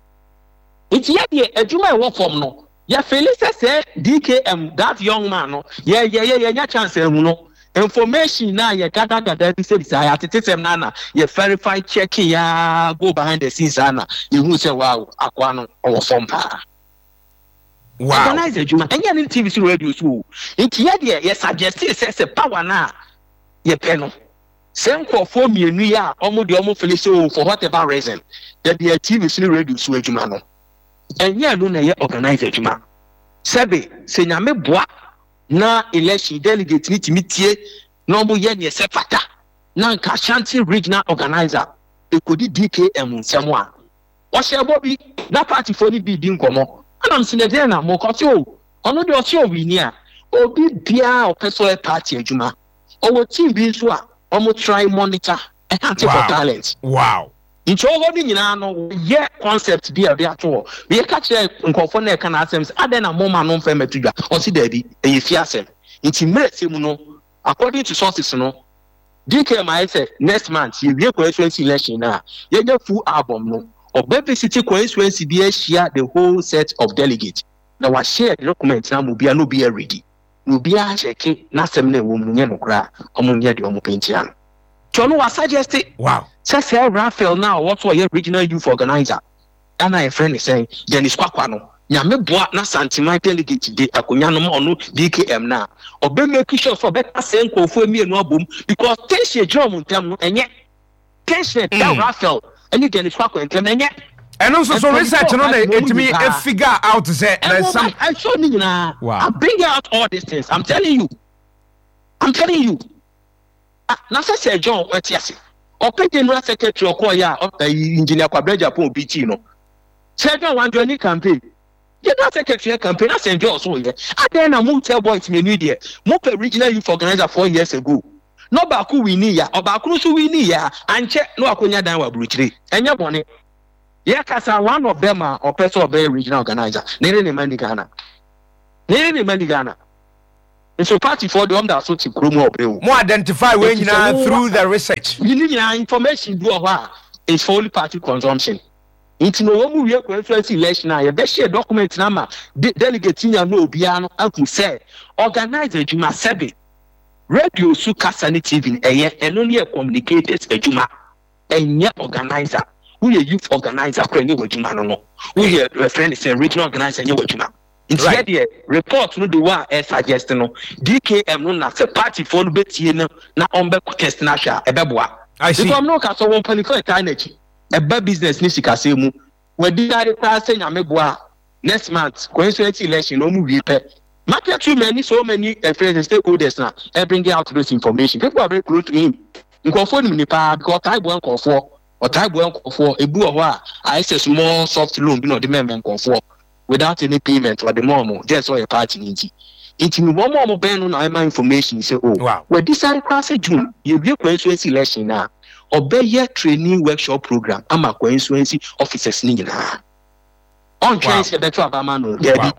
Nti yɛ deɛ, adwuma a ɛwɔ fam no, yɛfeel sɛ sɛ D K M, that young man no, yɛ yɛ yɛ yɛnya chance ɛhu no, information na yɛ gadagada bi sɛ bisa yɛatete sɛm na na yɛ verify, check ya, go behind the scenes ana yɛhu sɛ wow, akoa no ɔwɔ fam paa. Wow organize adwuma ɛnyɛ ne T V so, radio so o. Nti yɛ deɛ, yɛ suggest sɛ sɛ power na yɛpɛ no, sɛ nkurɔfoɔ mmienu yi a ɔmo deɛ ɔmo feel sɛ o, for whatever reason, yɛde yɛ T V so ne radio so adwuma no, ɛnyɛ ɛno na ɛyɛ organize adwuma. Sɛbe sɛ Nyame boa na election delegate ne tumi tie na ɔmo yɛ neɛ sɛ fata na nka Ashanti Regional organizer ekodi D K M nsɛm a ɔhyɛ bɔ bi na partyfoɔ no bi di nkɔmɔ ɛnam sɛ nɛdeɛ na mo kɔte o, ɔno deɛ ɔte ɔwini a, obi biara a ɔpɛ sɛ ɔyɛ party adwuma, ɔwɔ team bi nso a ɔmo try monitor ɛhante for Wow. talent. Wow nti ɔwɔ hɔ no nyinaa no, yɛ concept bi a ɔde ato hɔ. Yɛka kyerɛ nkɔfoɔ no ɛka n'asɛm sɛ adɛn na moma no mfɛ mɛto dwa? Ɔsi daabi, ɛyɛ fi asɛm. Nti mmerɛ sɛ mu no, according to sources no, D K M ayɛ sɛ next month yɛwie constituency election na yɛnya full album no, ɔbɛ visit constituency bi ahyia the whole set of delegates na wahyɛ document na ma obiara na obiara ready na obiara akyɛke n'asɛm na ɛwɔ mu no nyɛ no koraa, ɔmo nyɛ deɛ ɔmo pɛ ntia no. Nti ɔno wa suggest wow sɛ sɛ Raphael na ɔwɔ so ɔyɛ regional youth organizer ɛna yɛfrɛ ne sɛn, Dennis Kwakwa no, Nyame boa na Santiman delegate de akonnwa no ma ɔno D K M na ɔbɛ make sure sɛ ɔbɛka sɛ nkurɔfoɔ mmienu abom because tension gyina ɔmo ntam no, ɛnyɛ tension da Mm. Raphael ɛne Dennis Kwakwa ntam ɛnyɛ. Ɛno nso so Mpanyinfoɔ research no na party no mu ɛtumi nyinaa. figure out sɛ there's some ɛwɔ ɛsɔ ne nyinaa. Wow. I bring out all these things. I'm telling you, I'm telling you. Ah, na sɛ sɛ John ɛte ase, ɔpɛ general secretary ɔkɔɔ yɛ a ɔyɛ Engineer Kwabena Japan obi tii no sɛ John wanjɔ ni campaign, general secretary yɛ campaign na Saint John so yɛ adan na mo tell boys mmienu yi deɛ, mo pɛ regional youth organizer four years ago na ɔbaako win ya, ɔbaako nso win ya, ankyɛ na wakɔnya dan wɔ aburokyire. Ɛnyɛ bɔne. Yɛ kasa, one of them a ɔpɛ sɛ ɔbɛyɛ regional organizer, ne ne ne ma ni Ghana, ne ne ne ma ni Ghana. Nso party foɔ deɛ, ɔmo da so te kurom hɔ ɔbrɛ o. Mo identify wei Eti sɛ nyinaa wo- through the research? Ne nyinaa information bi wɔ hɔ a is for only party consumption. Nti na wɔn mu wie constituency election a, yɛbɛhyɛ document na ma de delegate nya no, obiara no ahu sɛ organize adwuma. Sɛbi, radio so kasa ne T V no, ɛyɛ ɛno ne yɛ communicators adwuma, ɛnyɛ organizer. Woyɛ youth organizer kora, ɛnyɛ wɔ adwuma no no Woyɛ referent sɛ regional organizer, ɛnyɛ wɔ adwuma. Nti Right. yɛ deɛ, report no de wɔ a ɛ suggest no D K M no, na sɛ party foɔ no bɛtie no na ɔmbɛ test no ahwɛ a, ɛbɛboa. I see. Because no ka sɛ wɔn mpanyinfoɔ ɛtaa n'akyi ɛba business ne sikasɛm mu, wɔadi ade koraa sɛ Nyame boa a, next month constituency election na wɔn wie pɛ, market too many, so many uh, friends and stakeholders na ɛ bring out those information. People are very close to him. Nkurɔfoɔ nim ne paa because ɔtaa boa nkurɔfoɔ, ɔtaa boa nkurɔfoɔ. Ebi wɔ hɔ a ayɛ sɛ small soft loan bi na ɔde mɛmɛ nkurɔfoɔ without any payment, ɔde mɔ ɔmo gye sɛ ɔyɛ party ne. Nti nti wɔn a wɔn bɛn no na ɛma information sɛ o Wow. wɔdi sáré koraa sɛ June yɛwie constituency election na ɔbɛyɛ training workshop program ama constituency officers ne nyinaa. Ɔntwɛn Wow. sɛ ɛbɛto abama no, dɛbi,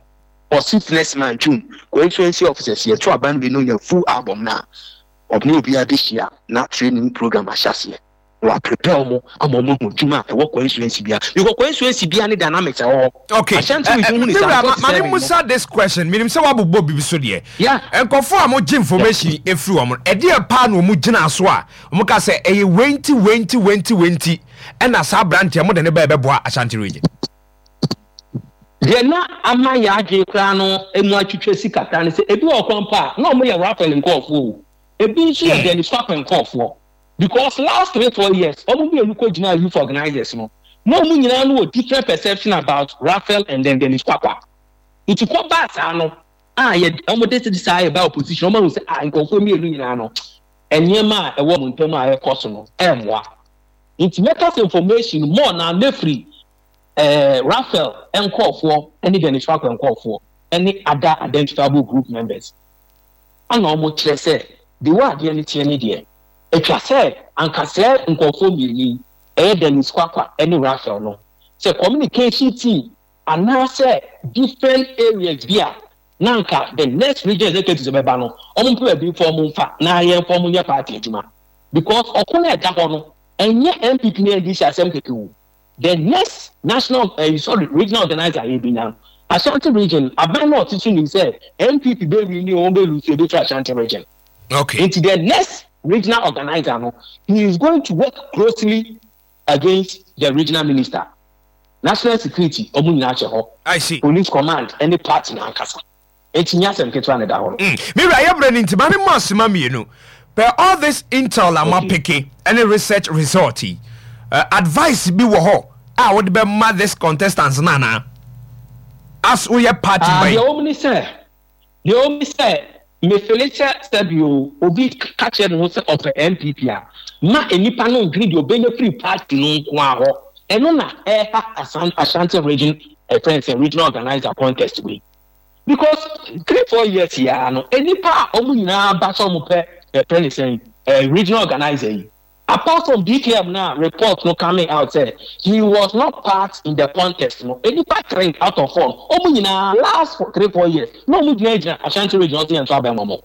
ɔsi next month June, constituency officers yɛto aba no bi no, nya full album na ɔne obiara bɛhyia na training program ahyɛ aseɛ na wa prepare ɔmo ama ɔmo ahu adwuma a ɛwɔ constituency bia, because constituency bia ne dynamics ɛwɔ hɔ. Okay. Ashanti Eh, region eh, hu ne saa Mewura, ma- forty-seven ma me no. musa this question. Menim sɛ woabobɔ biribi so deɛ, Yeah. nkɔfoɔ a mogye information ɛfiri wɔn no, ɛdeɛ paa na ɔmo gyina so a ɔmo ka sɛ ɛyɛ wenti wenti wenti wenti ɛna saa aberanteɛ mode ne bɛɛ bɛboa Ashanti Region? Deɛ na ama yɛ adwene koraa no emu atwitwa si kakra no sɛ ebi wɔ kwan pa a na ɔmo yɛ Raphael nkɔɔfoɔ o, ebi nso yɛ Dennis Kwakwe nkɔɔfoɔ, because last three four years ɔmo mmienu kɔ gyina youth organizers no, na ɔmo nyinaa no wɔ different perception about Raphael and then Dennis Kwakwa. Nti kɔ baa saa no a, yɛ ɔmo de ti saa yɛ ba opposition, ɔmo ahu sɛ a nkɔɔfoɔ mmienu nyinaa no, nneɛma a ɛwɔ ɔmo ntam a ɛkɔ so no ɛmmoa. Nti mɛka sɛ information more na nefiri ɛɛ Raphael nkɔɔfoɔ ɛne Dennis Kwakwa nkɔɔfoɔ ɛne other identifiable group members ana wɔn kyerɛ sɛ de wɔ adeɛ no teɛ ne deɛ atwa sɛ ankasɛɛ nkɔɔfoɔ mmienu yi, ɛyɛ Dennis Kwakwa ɛne Raphael no, sɛ communication team anaasɛ different areas bi a na nka the next region executive bɛba no, wɔn mpɛ baabi fɔ wɔn nfa na yɛn fɔ wɔn nyɛ party adwuma, because ɔko no ɛda hɔ no, ɛnyɛ N P P ne N D C asɛm kɛkɛ o. The next national, uh, sorry, regional organizer yɛ bi nya Ashanti Region, aban náà ɔte so nim sɛ N P P bɛ win ni, wɔn bɛ lose, ebi fɛ Ashanti Region. Okay nti the next regional organizer no, he is going to work closely against the regional minister, national security, ɔmo nyinaa kyɛ hɔ, I see. police command ɛne party n'ankasa. Eti nyɛ asɛm ketewa na ɛda hɔ no. Mm. Mewura, yɛbrɛ no nti ma me mmɔ asema mmienu pɛ. All this intel a Okay. moapeke ɛne research result yi, uh, advice bi wɔ hɔ a wode bɛma this contestants no anaa as woyɛ party Ah, ban? deɛ wɔn ni sɛ deɛ wɔn ni sɛ mefele sɛ sɛbi o, obi ka kyerɛ ne ho sɛ ɔpɛ N P P a, ma nipa no ndwiri deɛ ɔbɛnya firi party no nko ara hɔ. Ɛno na ɛha Asan Ashanti Region ɛfɛn sɛ regional organizer contest wei, because three four years yaa no, nipa a wɔn nyinaa ba sɛ wɔn pɛ ɛfɛn sɛ ɛɛ regional organizer yi, apart from D K M na report no coming out say he was not part in the contest no, nipa three out of four, wɔn nyinaa last for three four years na wɔn gyina gyina Ashanti Region ɔsi yɛn nso abɛn wɔn.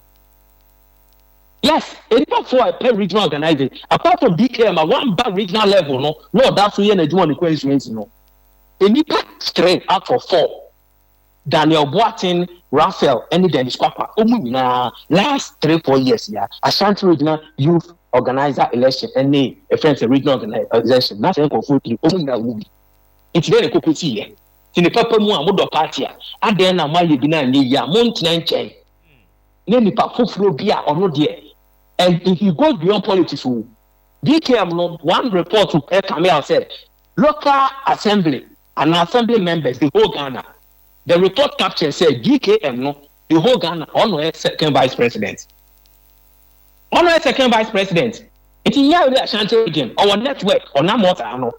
Yes, nipa four pɛ regional organizer, apart from D K M a one ba regional level no na ɔda so yɛ n'adwuma ne constituency no, nipa three out of four, Daniel Boateng, Raphael ɛne Dennis Kwakwa, wɔn nyinaa last three four years ya Ashanti Regional youth organizer election ɛne ɛfɛn sɛ regional organizer election na sɛ nkɔfoɔ three, wɔn nyinaa wɔ bi. Nti dɛ ne koko si yɛ ti ne papa mu a mo dɔ party a, adan na mo ayɛ bi na anyɛ yie a, mo ntena nkyɛn ne nipa foforɔ bi a ɔno deɛ, and if you go beyond politics o, D K M no, one report ɛ come out sɛ local assembly and assembly members, the whole Ghana, the report capture say D K M no, the whole Ghana, ɔno yɛ second vice president, ɔno yɛ second vice president. Nti nyɛ awuri Ashanti Region, ɔwɔ network, ɔnam ɔtaa no.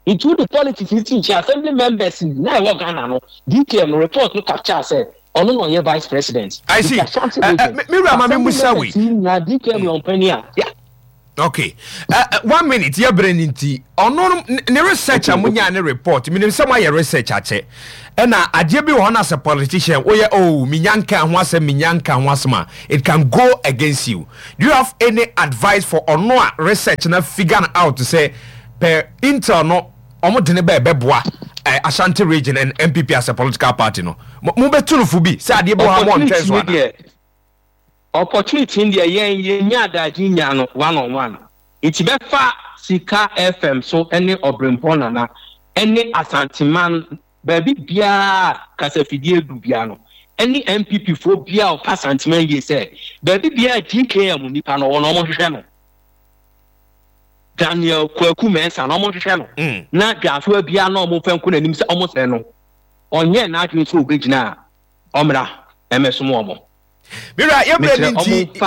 Nti wo de politics ni ti nkyɛn, assembly members na ɛwɔ Ghana no, D K M no, report no capture sɛ ɔno na ɔyɛ vice president. I see. Nti Ashanti Eh, eh, Region me- me wura, ma me assembly musa wei. members yi nyinaa, D K M yɛ ɔmpanin a, yeah. Okay, uh, uh, one minute, yɛ brɛ ne nti ɔno ne research a monya ne report, menim sɛ moayɛ research akyɛ, ɛna adeɛ bi wɔ hɔ no, as a politician woyɛ, oh, menya nka ho asɛm, menya nka ho asɛm a, it can go against you. Do you have any advice for ɔno a research na figure out sɛ per intel no ɔmo de ne bɛɛ bɛboa uh, Ashanti Region and N P P as a political party no? Mobɛtu no fo bi sɛ adeɛ bi wɔ ha mo ɔntwɛn so ana? Opportunity deɛ, yɛn yɛnya adagye nya no one on one, nti bɛfa Sika F M so ne Ɔbrempɔ Nana ne Asanteman baabi biara kasafidie du bia no ne N P P foɔ biara ɔpa Asanteman yie sɛ baabi biara D K M nipa no ɔwɔ no, ɔmo hwehwɛ no, Daniel Kwaku Mɛnsa na ɔmo hwehwɛ no mm. na dwasoa biara na ɔmo fɛn ko n'anim sɛ ɔmo sɛ no ɔnyɛ n'adwene sɛ ɔbɛgyina a, ɔmmra ɛmɛsom ɔmo. Mira, yɛbrɛ ne nti,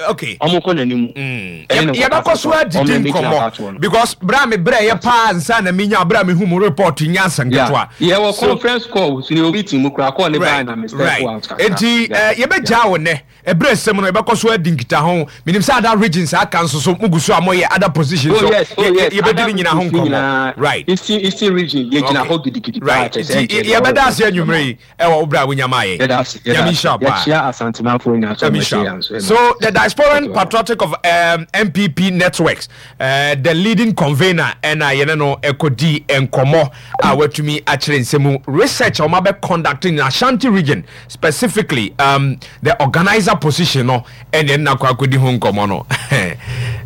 okay, ɔmo kɔ n'anim. Yɛbɛkɔ so adidi nkɔmmɔ because berɛ a mebrɛ yɛ paa nsa na menya berɛ a mehu mu report nya asɛm ketewa. Yɛwɔ conference call so ne obi ti mu kora call ne baa na me step out kakra. Enti yɛbɛgyaa wo nnɛ, ɛberɛ sɛm no yɛbɛkɔ so adi nkita ho. Menim sɛ other regions aka nso so mugu so a moyɛ other positions so. Oh, oh, yes. Yɛbɛdi ne nyina ho nkɔmmɔ, right? Eastern Eastern Region yɛgyina hɔ gidigidi. Right, nti yɛbɛda ase anwummerɛ yi ɛwɔ wo berɛ a wonya maa yɛ. Nyame nhyira paa. Yɛkyia Asantemanfoɔ nyinaa so. Nyame nhyira. So the Diasporan Patriotic of um, N P P networks, uh, the leading convener, ɛna yɛne no ɛkɔdi nkɔmmɔ a watumi akyerɛ nsɛm research a wɔn abɛ conducting in Ashanti Region, specifically um, the organizer position no, ɛna ɛna akɔ akɔdi ho nkɔmmɔ no.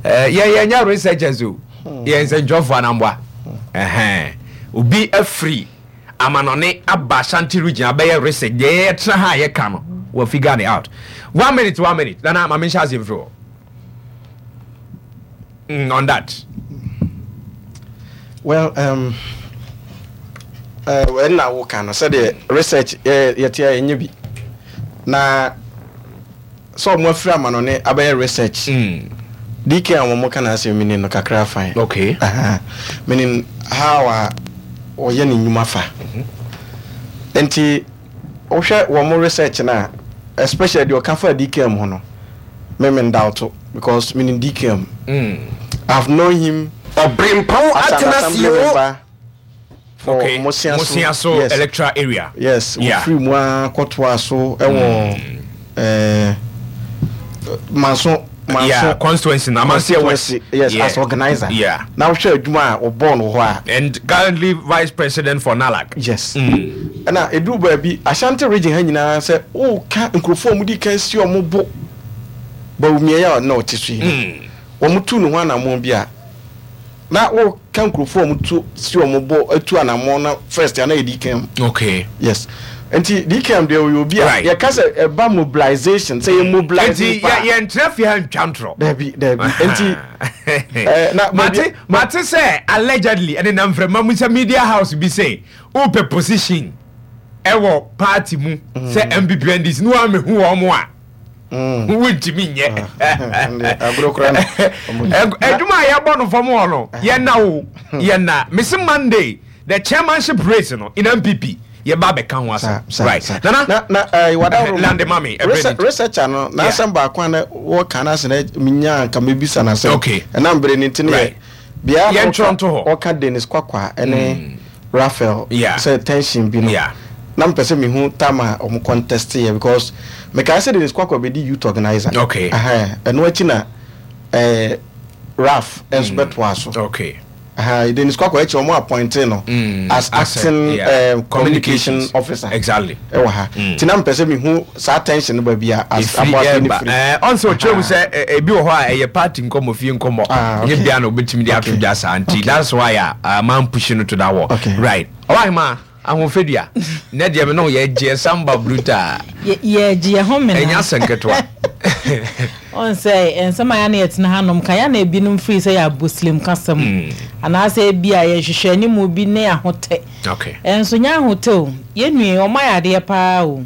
Yɛ yɛnyɛ researchers o, yɛn nsɛntwerɛfoɔ anamboa. Obi afiri amanɔne aba Ashanti Region abɛyɛ research deɛ yɛtena ha a yɛka no, wɔ figure it out. One minute, one minute, Nana, maame nhyɛ ase mfiri hɔ mm, on that. Well, um, ɛnna woka no sɛdeɛ research yɛte a yɛnyɛ bi na sɛ ɔmo afiri amanɔne abɛyɛ research mm. D K a wɔn ka n'asɛm mi ni no kakra fine. Okay. Uh-huh. Meaning how a ɔyɛ ne nnwuma fa. Nti wohwɛ wɔn research na, especially deɛ ɔka fa D K M ho no, me me ndawto because meaning D K M. Mm. I've known him Ɔbrempɔn as an atena assembly sie o. member for okay. Mosiaso. Mosiaso yes. Electoral area. Yes, Yeah. wofiri mu a kɔtoa so ɛwɔ ɛɛ Manso Manso yeah, constituency na Amansie West. Constituency, yes, yeah. as organizer. Yeah. Na wohwɛ adwuma a ɔbɔɔ no hɔ a, and currently vice president for NALAC. Yes. Mm. Ɛna eduru baabi, Ashanti Region ha nyinaa, sɛ woka nkurɔfoɔ a wɔdi kan si wɔn bo Bawumia a na ɔte so yi Mm. no, wɔn tu ne ho anammɔn bi a, na woka nkurɔfoɔ a wɔn tu si wɔn bo atu anammɔn na first ana yɛ D K M. Okay. Yes, nti D K M deɛ, ɔyɛ obi a Right. yɛka sɛ ɛba mobilization, sɛ yɛ mobilize nti nipa yɛ yɛntena fie ha ntwa ntorɔ. Dabi, dabi, nti eh, na mate mate sɛ allegedly ɛne nam mframa mu sɛ media house bi sɛ wopɛ position ɛwɔ party mu sɛ N P P, N D C ne woamehu wɔ mo a, wontumi nyɛ. Ɛnde, agorɔ koraa na ɔmo Ɛ- adwuma a yɛbɔ no fam hɔ no, yɛna o yɛna mese Monday the chairmanship race no in N P P, yɛba bɛka ho Sa- asɛm. sa- Right. sa. Nana, na na eh, wada Lande mami, ɛbrɛ Research- ne nti. researcher no n'asɛm baako a na wɔka no ase na menya nka mebisa no asɛm. Okay. Ɛnam berɛ no nti no yɛ Right. bea na Yɛntwerɛ ɔka- nto hɔ. ɔka Dennis Kwakwa ɛne Raphael Yeah. sɛ tension bi no, Yeah. na mpɛ sɛ mehu time a ɔmo contest yɛ, because mekae sɛ Dennis Kwakwa bɛdi youth organizer. Okay. Ɛhɛn, ɛno akyi na eh, Ralph ɛnso bɛtoa so. Okay Aha, Dennis Kwakwa akyi ɔmo appoint no Mm, as as a- acting yeah. um, communication Communications. officer. Exactly. Ɛwɔ ha nti na mpɛ sɛ mehu saa tension no baabi a as ɛfiri aboafoɔ no ɛba firi. ɛɛ ɔn sɛ ɔkyerɛ mu sɛ ɛ, ebi wɔ hɔ a ɛyɛ party nkɔmmɔ, fie nkɔmmɔ. Ah, okay. Ɛnyɛ bia na obɛtumi de ato Okay. dwa saa, nti Okay. that's why a uh, man push no to that wall. Okay. Right, ɔwahema ahofadua nɛ deɛ me ne wo yɛgyeɛ samba brutal. Yɛgye yɛ ho mena. Ɛnyɛ asɛm ketewa. Ɔn sɛ nsɛm a yɛne yɛtena hanom ka yɛna ebinom firi sɛ yɛ aboslim kasɛm anaasɛ ebi a yɛhwehwɛ animu bi ne ahotɛ. Okay ɛnso nyɛ ahotɛ o, yɛnue ɔmo ayɛ adeɛ paa o,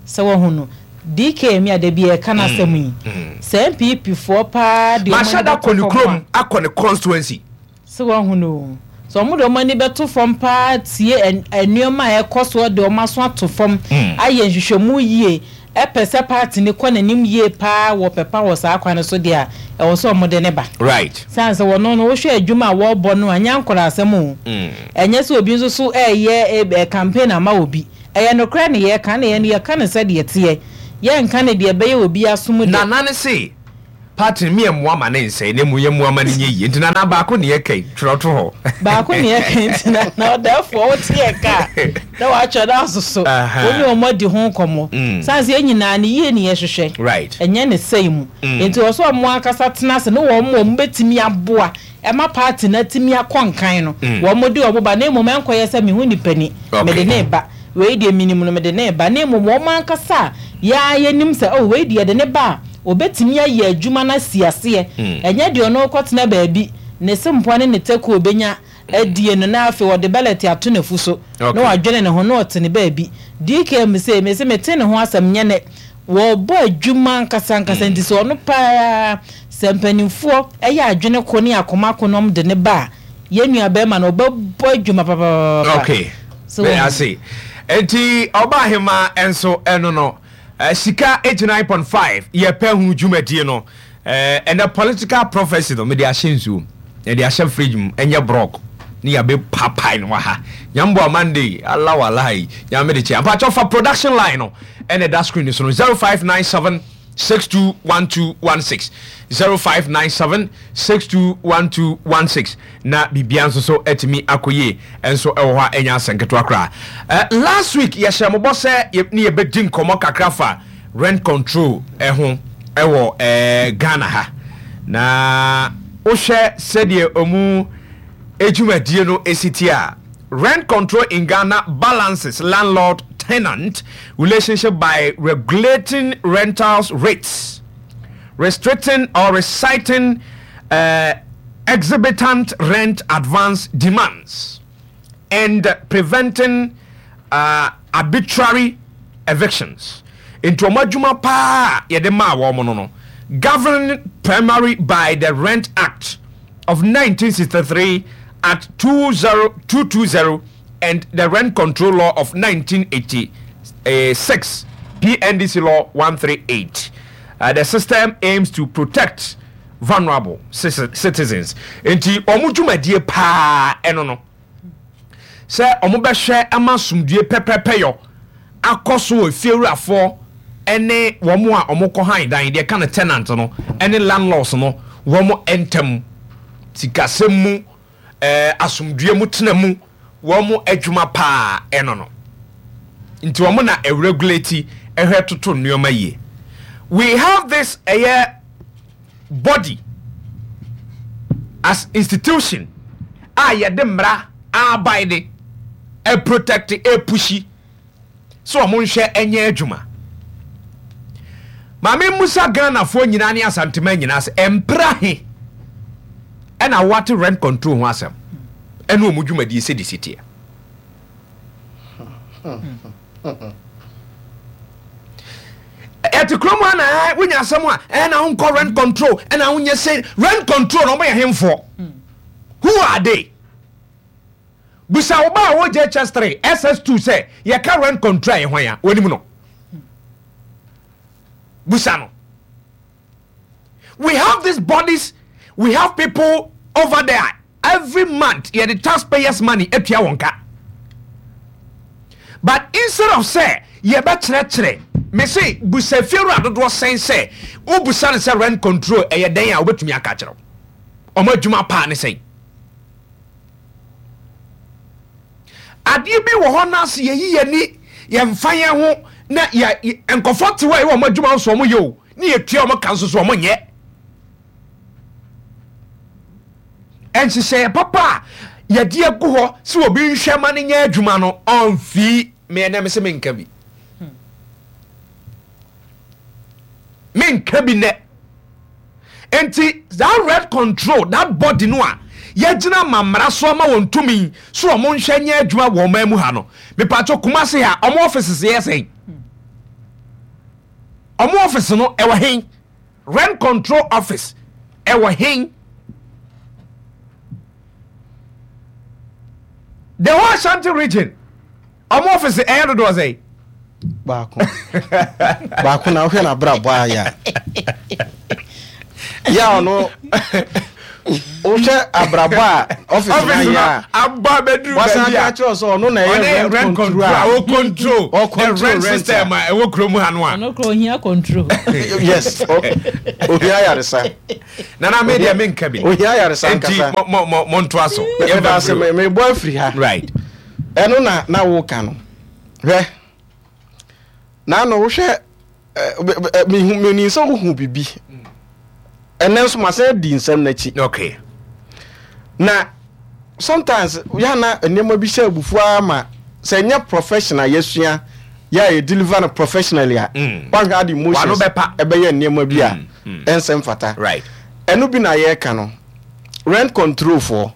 sɛ wɔho no D K mi a da bi yɛka n'asɛm yi sɛ N P P foɔ paa de ɔmo ani mahyɛ da bɛto kɔ ne fam kurom a, akɔ ne constituency. Sɛ wɔho no o, sɛ ɔmo de ɔmo ani bɛto fam paa tie ɛn- nneɛma a ɛkɔ soɔ, de ɔmo aso ato fam ayɛ nhwehwɛmu yie. Ɛpɛ sɛ party ne kɔ n'anim yie paa wɔ pɛpa wɔ saa kwan no so deɛ a, ɛwɔ sɛ ɔmo de ne ba. Right san sɛ wɔno no, wohwɛ adwuma a wɔrebɔ no a, nyɛ nkɔla asɛm o. Mm. Ɛnyɛ sɛ obi nso so ɛyɛ ɛ campaign ama obi. Ɛyɛ nokorɛ ne yɛka ne yɛn no, yɛka ne sɛdeɛ teɛ, yɛnka ne deɛ ɛbɛyɛ obi asom de. Nana ne se party mi yɛ mmoa ma ne nsɛe na mu yɛ mmoa ma ne nyɛ yie, nti nana baako ne yɛ kai twerɛ to hɔ. Baako ne yɛka, nti na na ɔdɛɛfoɔ wote yɛ ka na watwerɛ no asoso. Aha. Wo ne ɔmo adi ho nkɔmmɔ. Mm. San sɛ yɛn nyinaa ne yie ne yɛhwehwɛ. Right ɛnyɛ ne sɛe mu. Mm. Nti wɔ sɛ ɔmo ankasa tena ase ne wɔn mo ɔmo bɛtumi aboa ɛma party na tumi akɔ nkan no. Mm. Wɔn mo de ɔmo ba, na mmom ɛnkɔyɛ sɛ mehu nipa ni, Okay. mede ne ba wei deɛ, minim no, mede ne ba, na mmom wɔn ankasa a yɛa yɛnim sɛ, oh, wei deɛ, de ne ba a obɛtumi ayɛ adwuma no asi aseɛ. Mm. Ɛnyɛ deɛ ɔno kɔtena baabi ne se mpoa ne ne tɛku obɛnya adie no, na afei wɔde bɛlɛte ato n'afu so na Okay. wadwene ne ho na ɔte ne baabi. D K M sɛ mese mete ne ho asɛm nyɛ ne wɔbɔ adwuma nkasa nkasa. Nti sɛ ɔno paa sɛ mpanimfoɔ ɛyɛ adwene ko ne akoma ko nom de ne ba a, yɛn nua bɛrima no ɔbɛbɔ adwuma papaapa. Okay. So, Bɛ ase nti ɔba ahema nso ɛno no eh, Sika eighty-nine point five yɛpɛ hu dwumadie no. eh, ɛnɛ political prophecy no, mede ahyɛ nsuo, yɛde ahyɛ fridge mu, ɛnyɛ brɔk ne yɛbɛ papae no wɔ ha. Nyamboa Monday ala walahi nyame de kyɛ ampakyɛw fa production line no ɛna ɛda screen so no, zero five nine seven six two one two one six, zero five nine seven six two one two one six, na biribia nso so atumi akɔ yie nso ɛwɔ hɔ a ɛnya asɛm ketewa koraa. uh, last week yɛhyɛ mobɔ sɛ yɛ- ne yɛbɛdi nkɔmmɔ kakra fa rent control ɛho ɛwɔ eh, Ghana ha, na wohwɛ sɛdeɛ ɔmu edwumadie no esi tie a, rent control in Ghana balances landlord tenant relationship by regulating rentals rates, restricting or reciting uh, exorbitant rent advance demands and preventing uh, arbitrary evictions. Nti wɔn adwuma paa yɛde maa wɔn no no governed primarily by the Rent Act of nineteen sixty-three Act two zero two two zero and the Rent Control Law of nineteen eighty-six, P N D C Law one three eight. uh, the system aims to protect vulnerable citizens. Nti wɔn dwumadie paa ɛno no sɛ wɔn bɛhwɛ ama asomdue pɛpɛpɛ yɔ akɔ so wɔ fiewurafoɔ ɛne wɔn a wɔn kɔ han dan deɛ ka no tenant no ɛne landlords no wɔn ntam sikasɛm mu, ɛɛ asomdue mu tena mu. Wɔn adwuma paa ɛno no, nti wɔn na ɛregulate, ɛhwɛ toto nneɛma yie. We have this ɛyɛ body as institution a yɛde mmara aban de ɛprotect, ɛpush so wɔn nhwɛ ɛnyɛ adwuma. Maame musa Ghanafoɔ nyinaa ne Asantema nyinaa sɛ mpra he ɛna wate rent control ho asɛm ɛne ɔmu dwumadie sɛ de si teɛ. Ɛte kurom ha na ɛ wonya asɛm a ɛna wonkɔ rent control, ɛna wonyɛ sɛ rent control na ɔmo yɛ hemfoɔ. Who are they? Busa wo ba a wɔ J H S three, S S two sɛ yɛka rent control a yɛ hwan a wɔnim no. Busa no. We have these bodies, we have people over there. Every month yɛde taxpayers' money atua wɔn ka, but instead of sɛ yɛbɛkyerɛkyerɛ me se busa fiewura dodoɔ sɛn sɛ wobusa no sɛ rent control ɛyɛ dɛn a, wobɛtumi aka kyerɛw ɔmo adwuma paa ne sɛn. Adeɛ bi wɔ hɔ no ase yɛyi yɛni, yɛmfa yɛn ho na yɛ nkɔfɔ te hɔ a yɛwɔ ɔmo adwuma nso ɔmo yɛ o, ne yɛtua ɔmo ka nso so ɔmo nyɛ nhyehyɛeɛ papa a yɛde agu hɔ sɛ obi nhwɛ ma no nyɛ adwuma no. Ɔmfii meɛnɛ me sɛ menka bi, menka bi nɛ. Nti that rent control, that body no a yɛgyina ma mmara so ama wɔn tumi so wɔn nhwɛ nyɛ adwuma wɔ ɔman mu ha no, mipatso Kumase ha, ɔmo offices yɛ sɛn? Ɔmo office no ɛwɔ hen? Rent control office ɛwɔ hen? The whole Ashanti Region, ɔmo office ɛyɛ dodoɔ sɛn? Baako baako na wohwɛ n'abrabɔ ayɛ a yɛ a ɔno wohwɛ abrabɔ a office no Office ayɛ no a abɔ abɛduru wasan baabi aka a kyerɛ sɛ ɔno na ɔne ɛyɛ rent control a o control Ɔ the control rent rent system a ɛwɔ kurom ha no a. Ɔno kora ohia control. Yes, o- ohia ayaresa. Nana, me deɛ menka bi. Ohia ayaresa Enti ankasa. mo mo mo mo ntoa so. Meda ase. me- mebɔ afiri ha. Right. Ɛno na na woka no, hwɛ, na no wohwɛ ɛ, ɛ, ɛ, mehu menim sɛ wohu bibi. Ɛnɛ nso masan di nsɛm n'akyi. Okay. Na sometimes yana nneɛma bi hyɛ abufuo ara ma sɛ nyɛ professional yɛsua yɛ a yɛ deliver no professionally a, Mm. wahwɛ ade emotions Wano bɛpa. ɛbɛyɛ nneɛma bi a Mm, mm. ɛnsɛ mfata. Right. Ɛno bi na yɛreka no, rent control foɔ,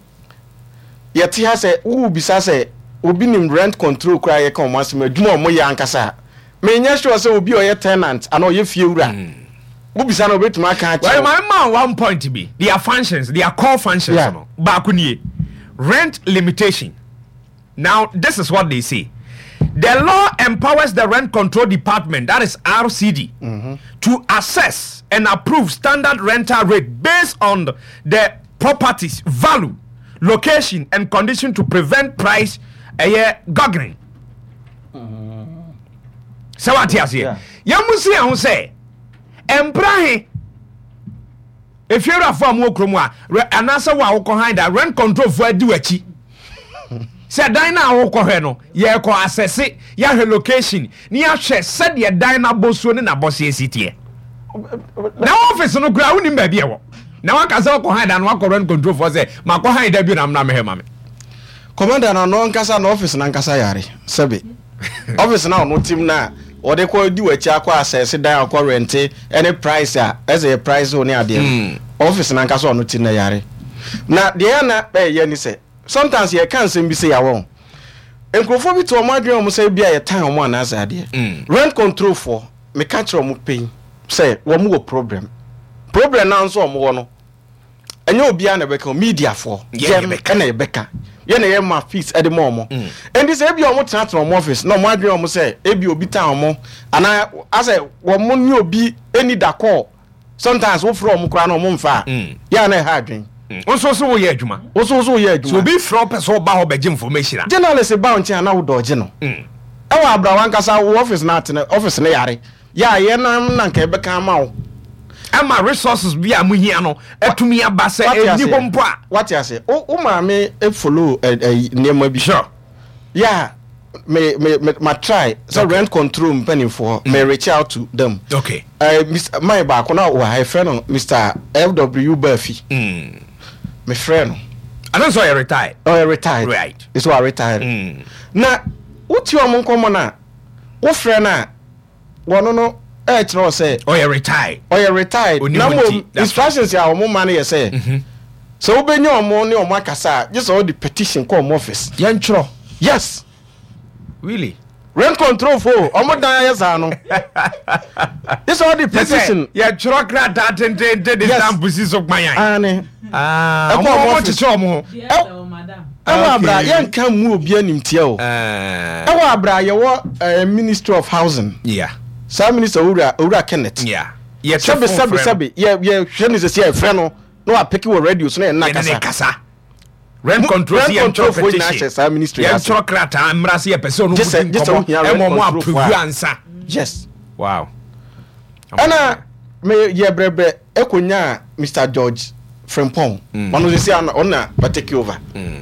yɛte ha sɛ wowubisa sɛ obi nim rent control koraa, yɛka ɔmo asɛm, adwuma a ɔmo yɛ ankasa a, menyɛ sure sɛ obi a ɔyɛ tenant anaa ɔyɛ fie wura, wobisa no, obɛtumi aka Well, akyerɛ wo. my man, one point bi, their functions, their core functions Yeah. no baako nie, rent limitation. Now this is what they say: the law empowers the Rent Control Department, that is R C D, to assess and approve standard rental rate based on the property's value, location and condition to prevent price ɛyɛ gouging. Sɛ wate aseɛ, yɛn mu si yɛn ho sɛ mpra he efiewurafoɔ a mo wɔ kurom a rɛ- anaasɛ wo a wokɔ han da, rent control foɔ adi w'akyi sɛ dan no a wokɔhwɛ no, yɛkɔ asɛse, yɛahwɛ location ne yɛahwɛ sɛdeɛ dan no abɔsuo ne n'abɔseɛ si teɛ, na office no koraa wonim baabi ɛwɔ, na waka sɛ wokɔ han da no, wakɔ rent control foɔ sɛ makɔ han da bi na mna mehwɛ ma me. Commander, na ɔno ankasa na office nankasa yare sɛbe office na ɔno tim na ɔde kɔ di w'akyi akɔ asɛse dan akɔ rente ɛne price a ɛsɛ yɛ price o ne adeɛ no, office nankasa ɔno tim na yare. Na deɛ ɛna ɛyɛ ni sɛ sometimes yɛka nsɛm bi sɛ yɛawɔ nkurɔfoɔ bi te ɔmo adwene ɔmo sɛ bi a yɛtan ɔmo anaasɛ adeɛ. Rent control foɔ, meka kyerɛ ɔmo pɛn sɛ wɔn wɔ problem. Problem naa nso ɔmo wɔ no, ɛnyɛ obiara na ɛbɛka o, mediafoɔ Yɛn yɛn yɛbɛka. Ɛna yɛbɛka, yɛn na yɛ ma fees ɛde ma ɔmo. Nti sɛ ebi ɔmo tenatena ɔmo office na ɔmo adwene ɔmo sɛ ebi obi tan ɔmo anaa asɛ wɔn ne obi eni da kɔɔ, sometimes wofrɛ ɔmo koraa na ɔmo nfa a, yɛn na ɛha adwene. Nso so woyɛ adwuma. Woso so woyɛ So adwuma. obi frɛ wo pɛ sɛ ɔba hɔ bɛgye information a, Journalist ba wo nkyɛn a na wodɔ ɔgye no ɛwɔ abra wankasa wo office na atena office ne yare yɛ a yɛnam na nka ɛbɛka ama wo. Ɛma resources bi a mohia no atumi aba sɛ Wate ɛni aseɛ? hɔ mpo a. Wate ase, wo wo maame follow ɛ ɛ nneɛma bi. Sure. Yeah, me me me ma try sɛ Okay. rent control mpanimfoɔ, me reach out to them. Okay uh, Mister man baako na wɔ ha, yɛfrɛ no Mister F W Bafi. mm. Me frɛ no. Ɛno nso ɔyɛ retired. Ɔyɛ retired. Right. Ɛsɛ wa retired. Mm. Na wotie ɔmo nkɔmmɔ no a, wofrɛ no a, wɔno no ɛɛkyerɛ wo sɛ ɔyɛ retired. Ɔyɛ retired. Onim Na nti, mmom that's instructions a ɔmo ma no yɛ sɛ sɛ wobɛnya ɔmo ne ɔmo akasa a, gye sɛ wode petition kɔ ɔmo office. Yɛntwerɛ. Yes. Really? Rent control fo, ɔmo dan ayɛ saa no, gye sɛ wode petition. Yɛtwerɛ krataa tententen de Yes. stamp si so kwan. Ane. Ah, Ɛkɔ ɔmo ɔmo ɔmo office. kyekyɛ ɔmo ho. Ɛwɔ abra Okay. yɛnka mu obi animtia o. Eh, Ɛwɔ abra yɛwɔ eh, Ministry of Housing, yeah saa minister owura owura Kenneth, yeah yɛtwe sɛbi phone sɛbi frɛ no. Sɛbi yɛ yɛhwɛ ne sɛsi a, yɛfrɛ no na wapeke wɔ radio so na yɛn na Yɛne ne kasa. Kasa rent control Rent si control yɛntwerɛ foɔ nyinaa petition. hyɛ saa ministry ase. Yɛntwerɛ krataa mmra sɛ yɛpɛ sɛ ɔno Gye sɛ- mu gye di sɛ nkɔmmɔ wohia rent ɛma ɔmo control approve foɔ a. ansa. Yes. Wow. Ɛna me yɛ brɛbrɛ ɛkonya Mister George Frimpong, ɔno sisi ano ɔno na ɔtake over.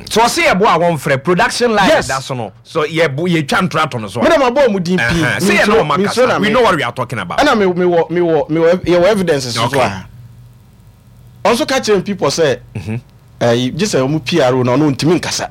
So ɔse yɛbo a wɔmfrɛ production line Yes. da so no so yɛbo yɛtwa ntora to no so a. Me na ma bɔ ɔmo din pii. Uh-huh. Sɛ yɛ ne ɔma Minsuro na kasa, we me- know what we are talking about. Ɛna me me wɔ me wɔ me wɔ yɛwɔ evidence so so Okay. a ɔnso ka kyerɛ people sɛ ɛyi gye sɛ ɔmo P R O na ɔno ntumi nkasa,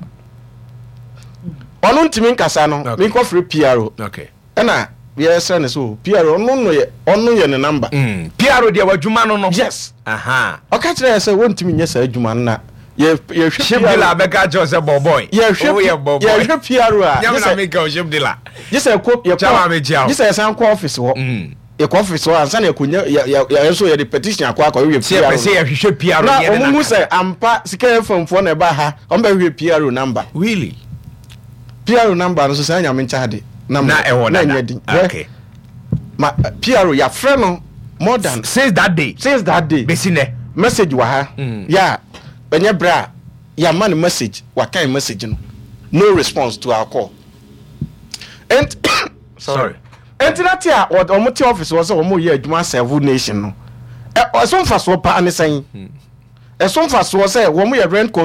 ɔno ntumi nkasa no. Okay. Mi nkɔ firi P R O. Okay ɛna yɛsrɛ ne so P R O ɔno no yɛ ɔno yɛ ne number. mm. P R O deɛ w'adwuma no no. Yes. Aha. Ɔka kyerɛ yɛ sɛ wɔntumi nyɛ saa adwuma no na yɛ yɛhwɛ Ship dealer bɛka kyerɛ wo sɛ bɔbɔy. Yɛhwɛ woyɛ bɔbɔy. Yɛhwɛ P R O a nyame gye na sɛ meka o ship dealer. Gye sɛ ɛkɔ yɛkɔ Chairman, mekyia wo. Gye sɛ yɛsan kɔ office hɔ. Mm. Yɛkɔ office hɔ ansa na yɛkɔnya yɛ yɛ yɛ nso yɛde petition akɔ akɔhwehwɛ Sɛ yɛpɛ sɛ P R O yɛhwehwɛ P R O na ne yɛne ɔmo hu no sɛ ampa sika yɛ famfoɔ na ɛba ha, ɔmo bɛhwehwɛ P R O number. Really? P R O number no so saa Nyame nkyɛ ade. Na Na ɛwɔ na dada. ɛnyɛ din. Hwɛ, Okay. ma P R O yɛafrɛ no more than Since that day. Since that day. Bɛsi nɛ. Message wɔ ha yɛ a ɛnyɛ berɛ a yɛama no message, wakan message no, no response to our call. And Sorry. Ɛnti na te a wɔ- ɔmo te office wɔ sɛ ɔmo yɛ adwuma serve nation no, ɛ ɔso mfasoɔ paa ne sɛn? Ɛso mfasoɔ sɛ wɔn yɛ rent.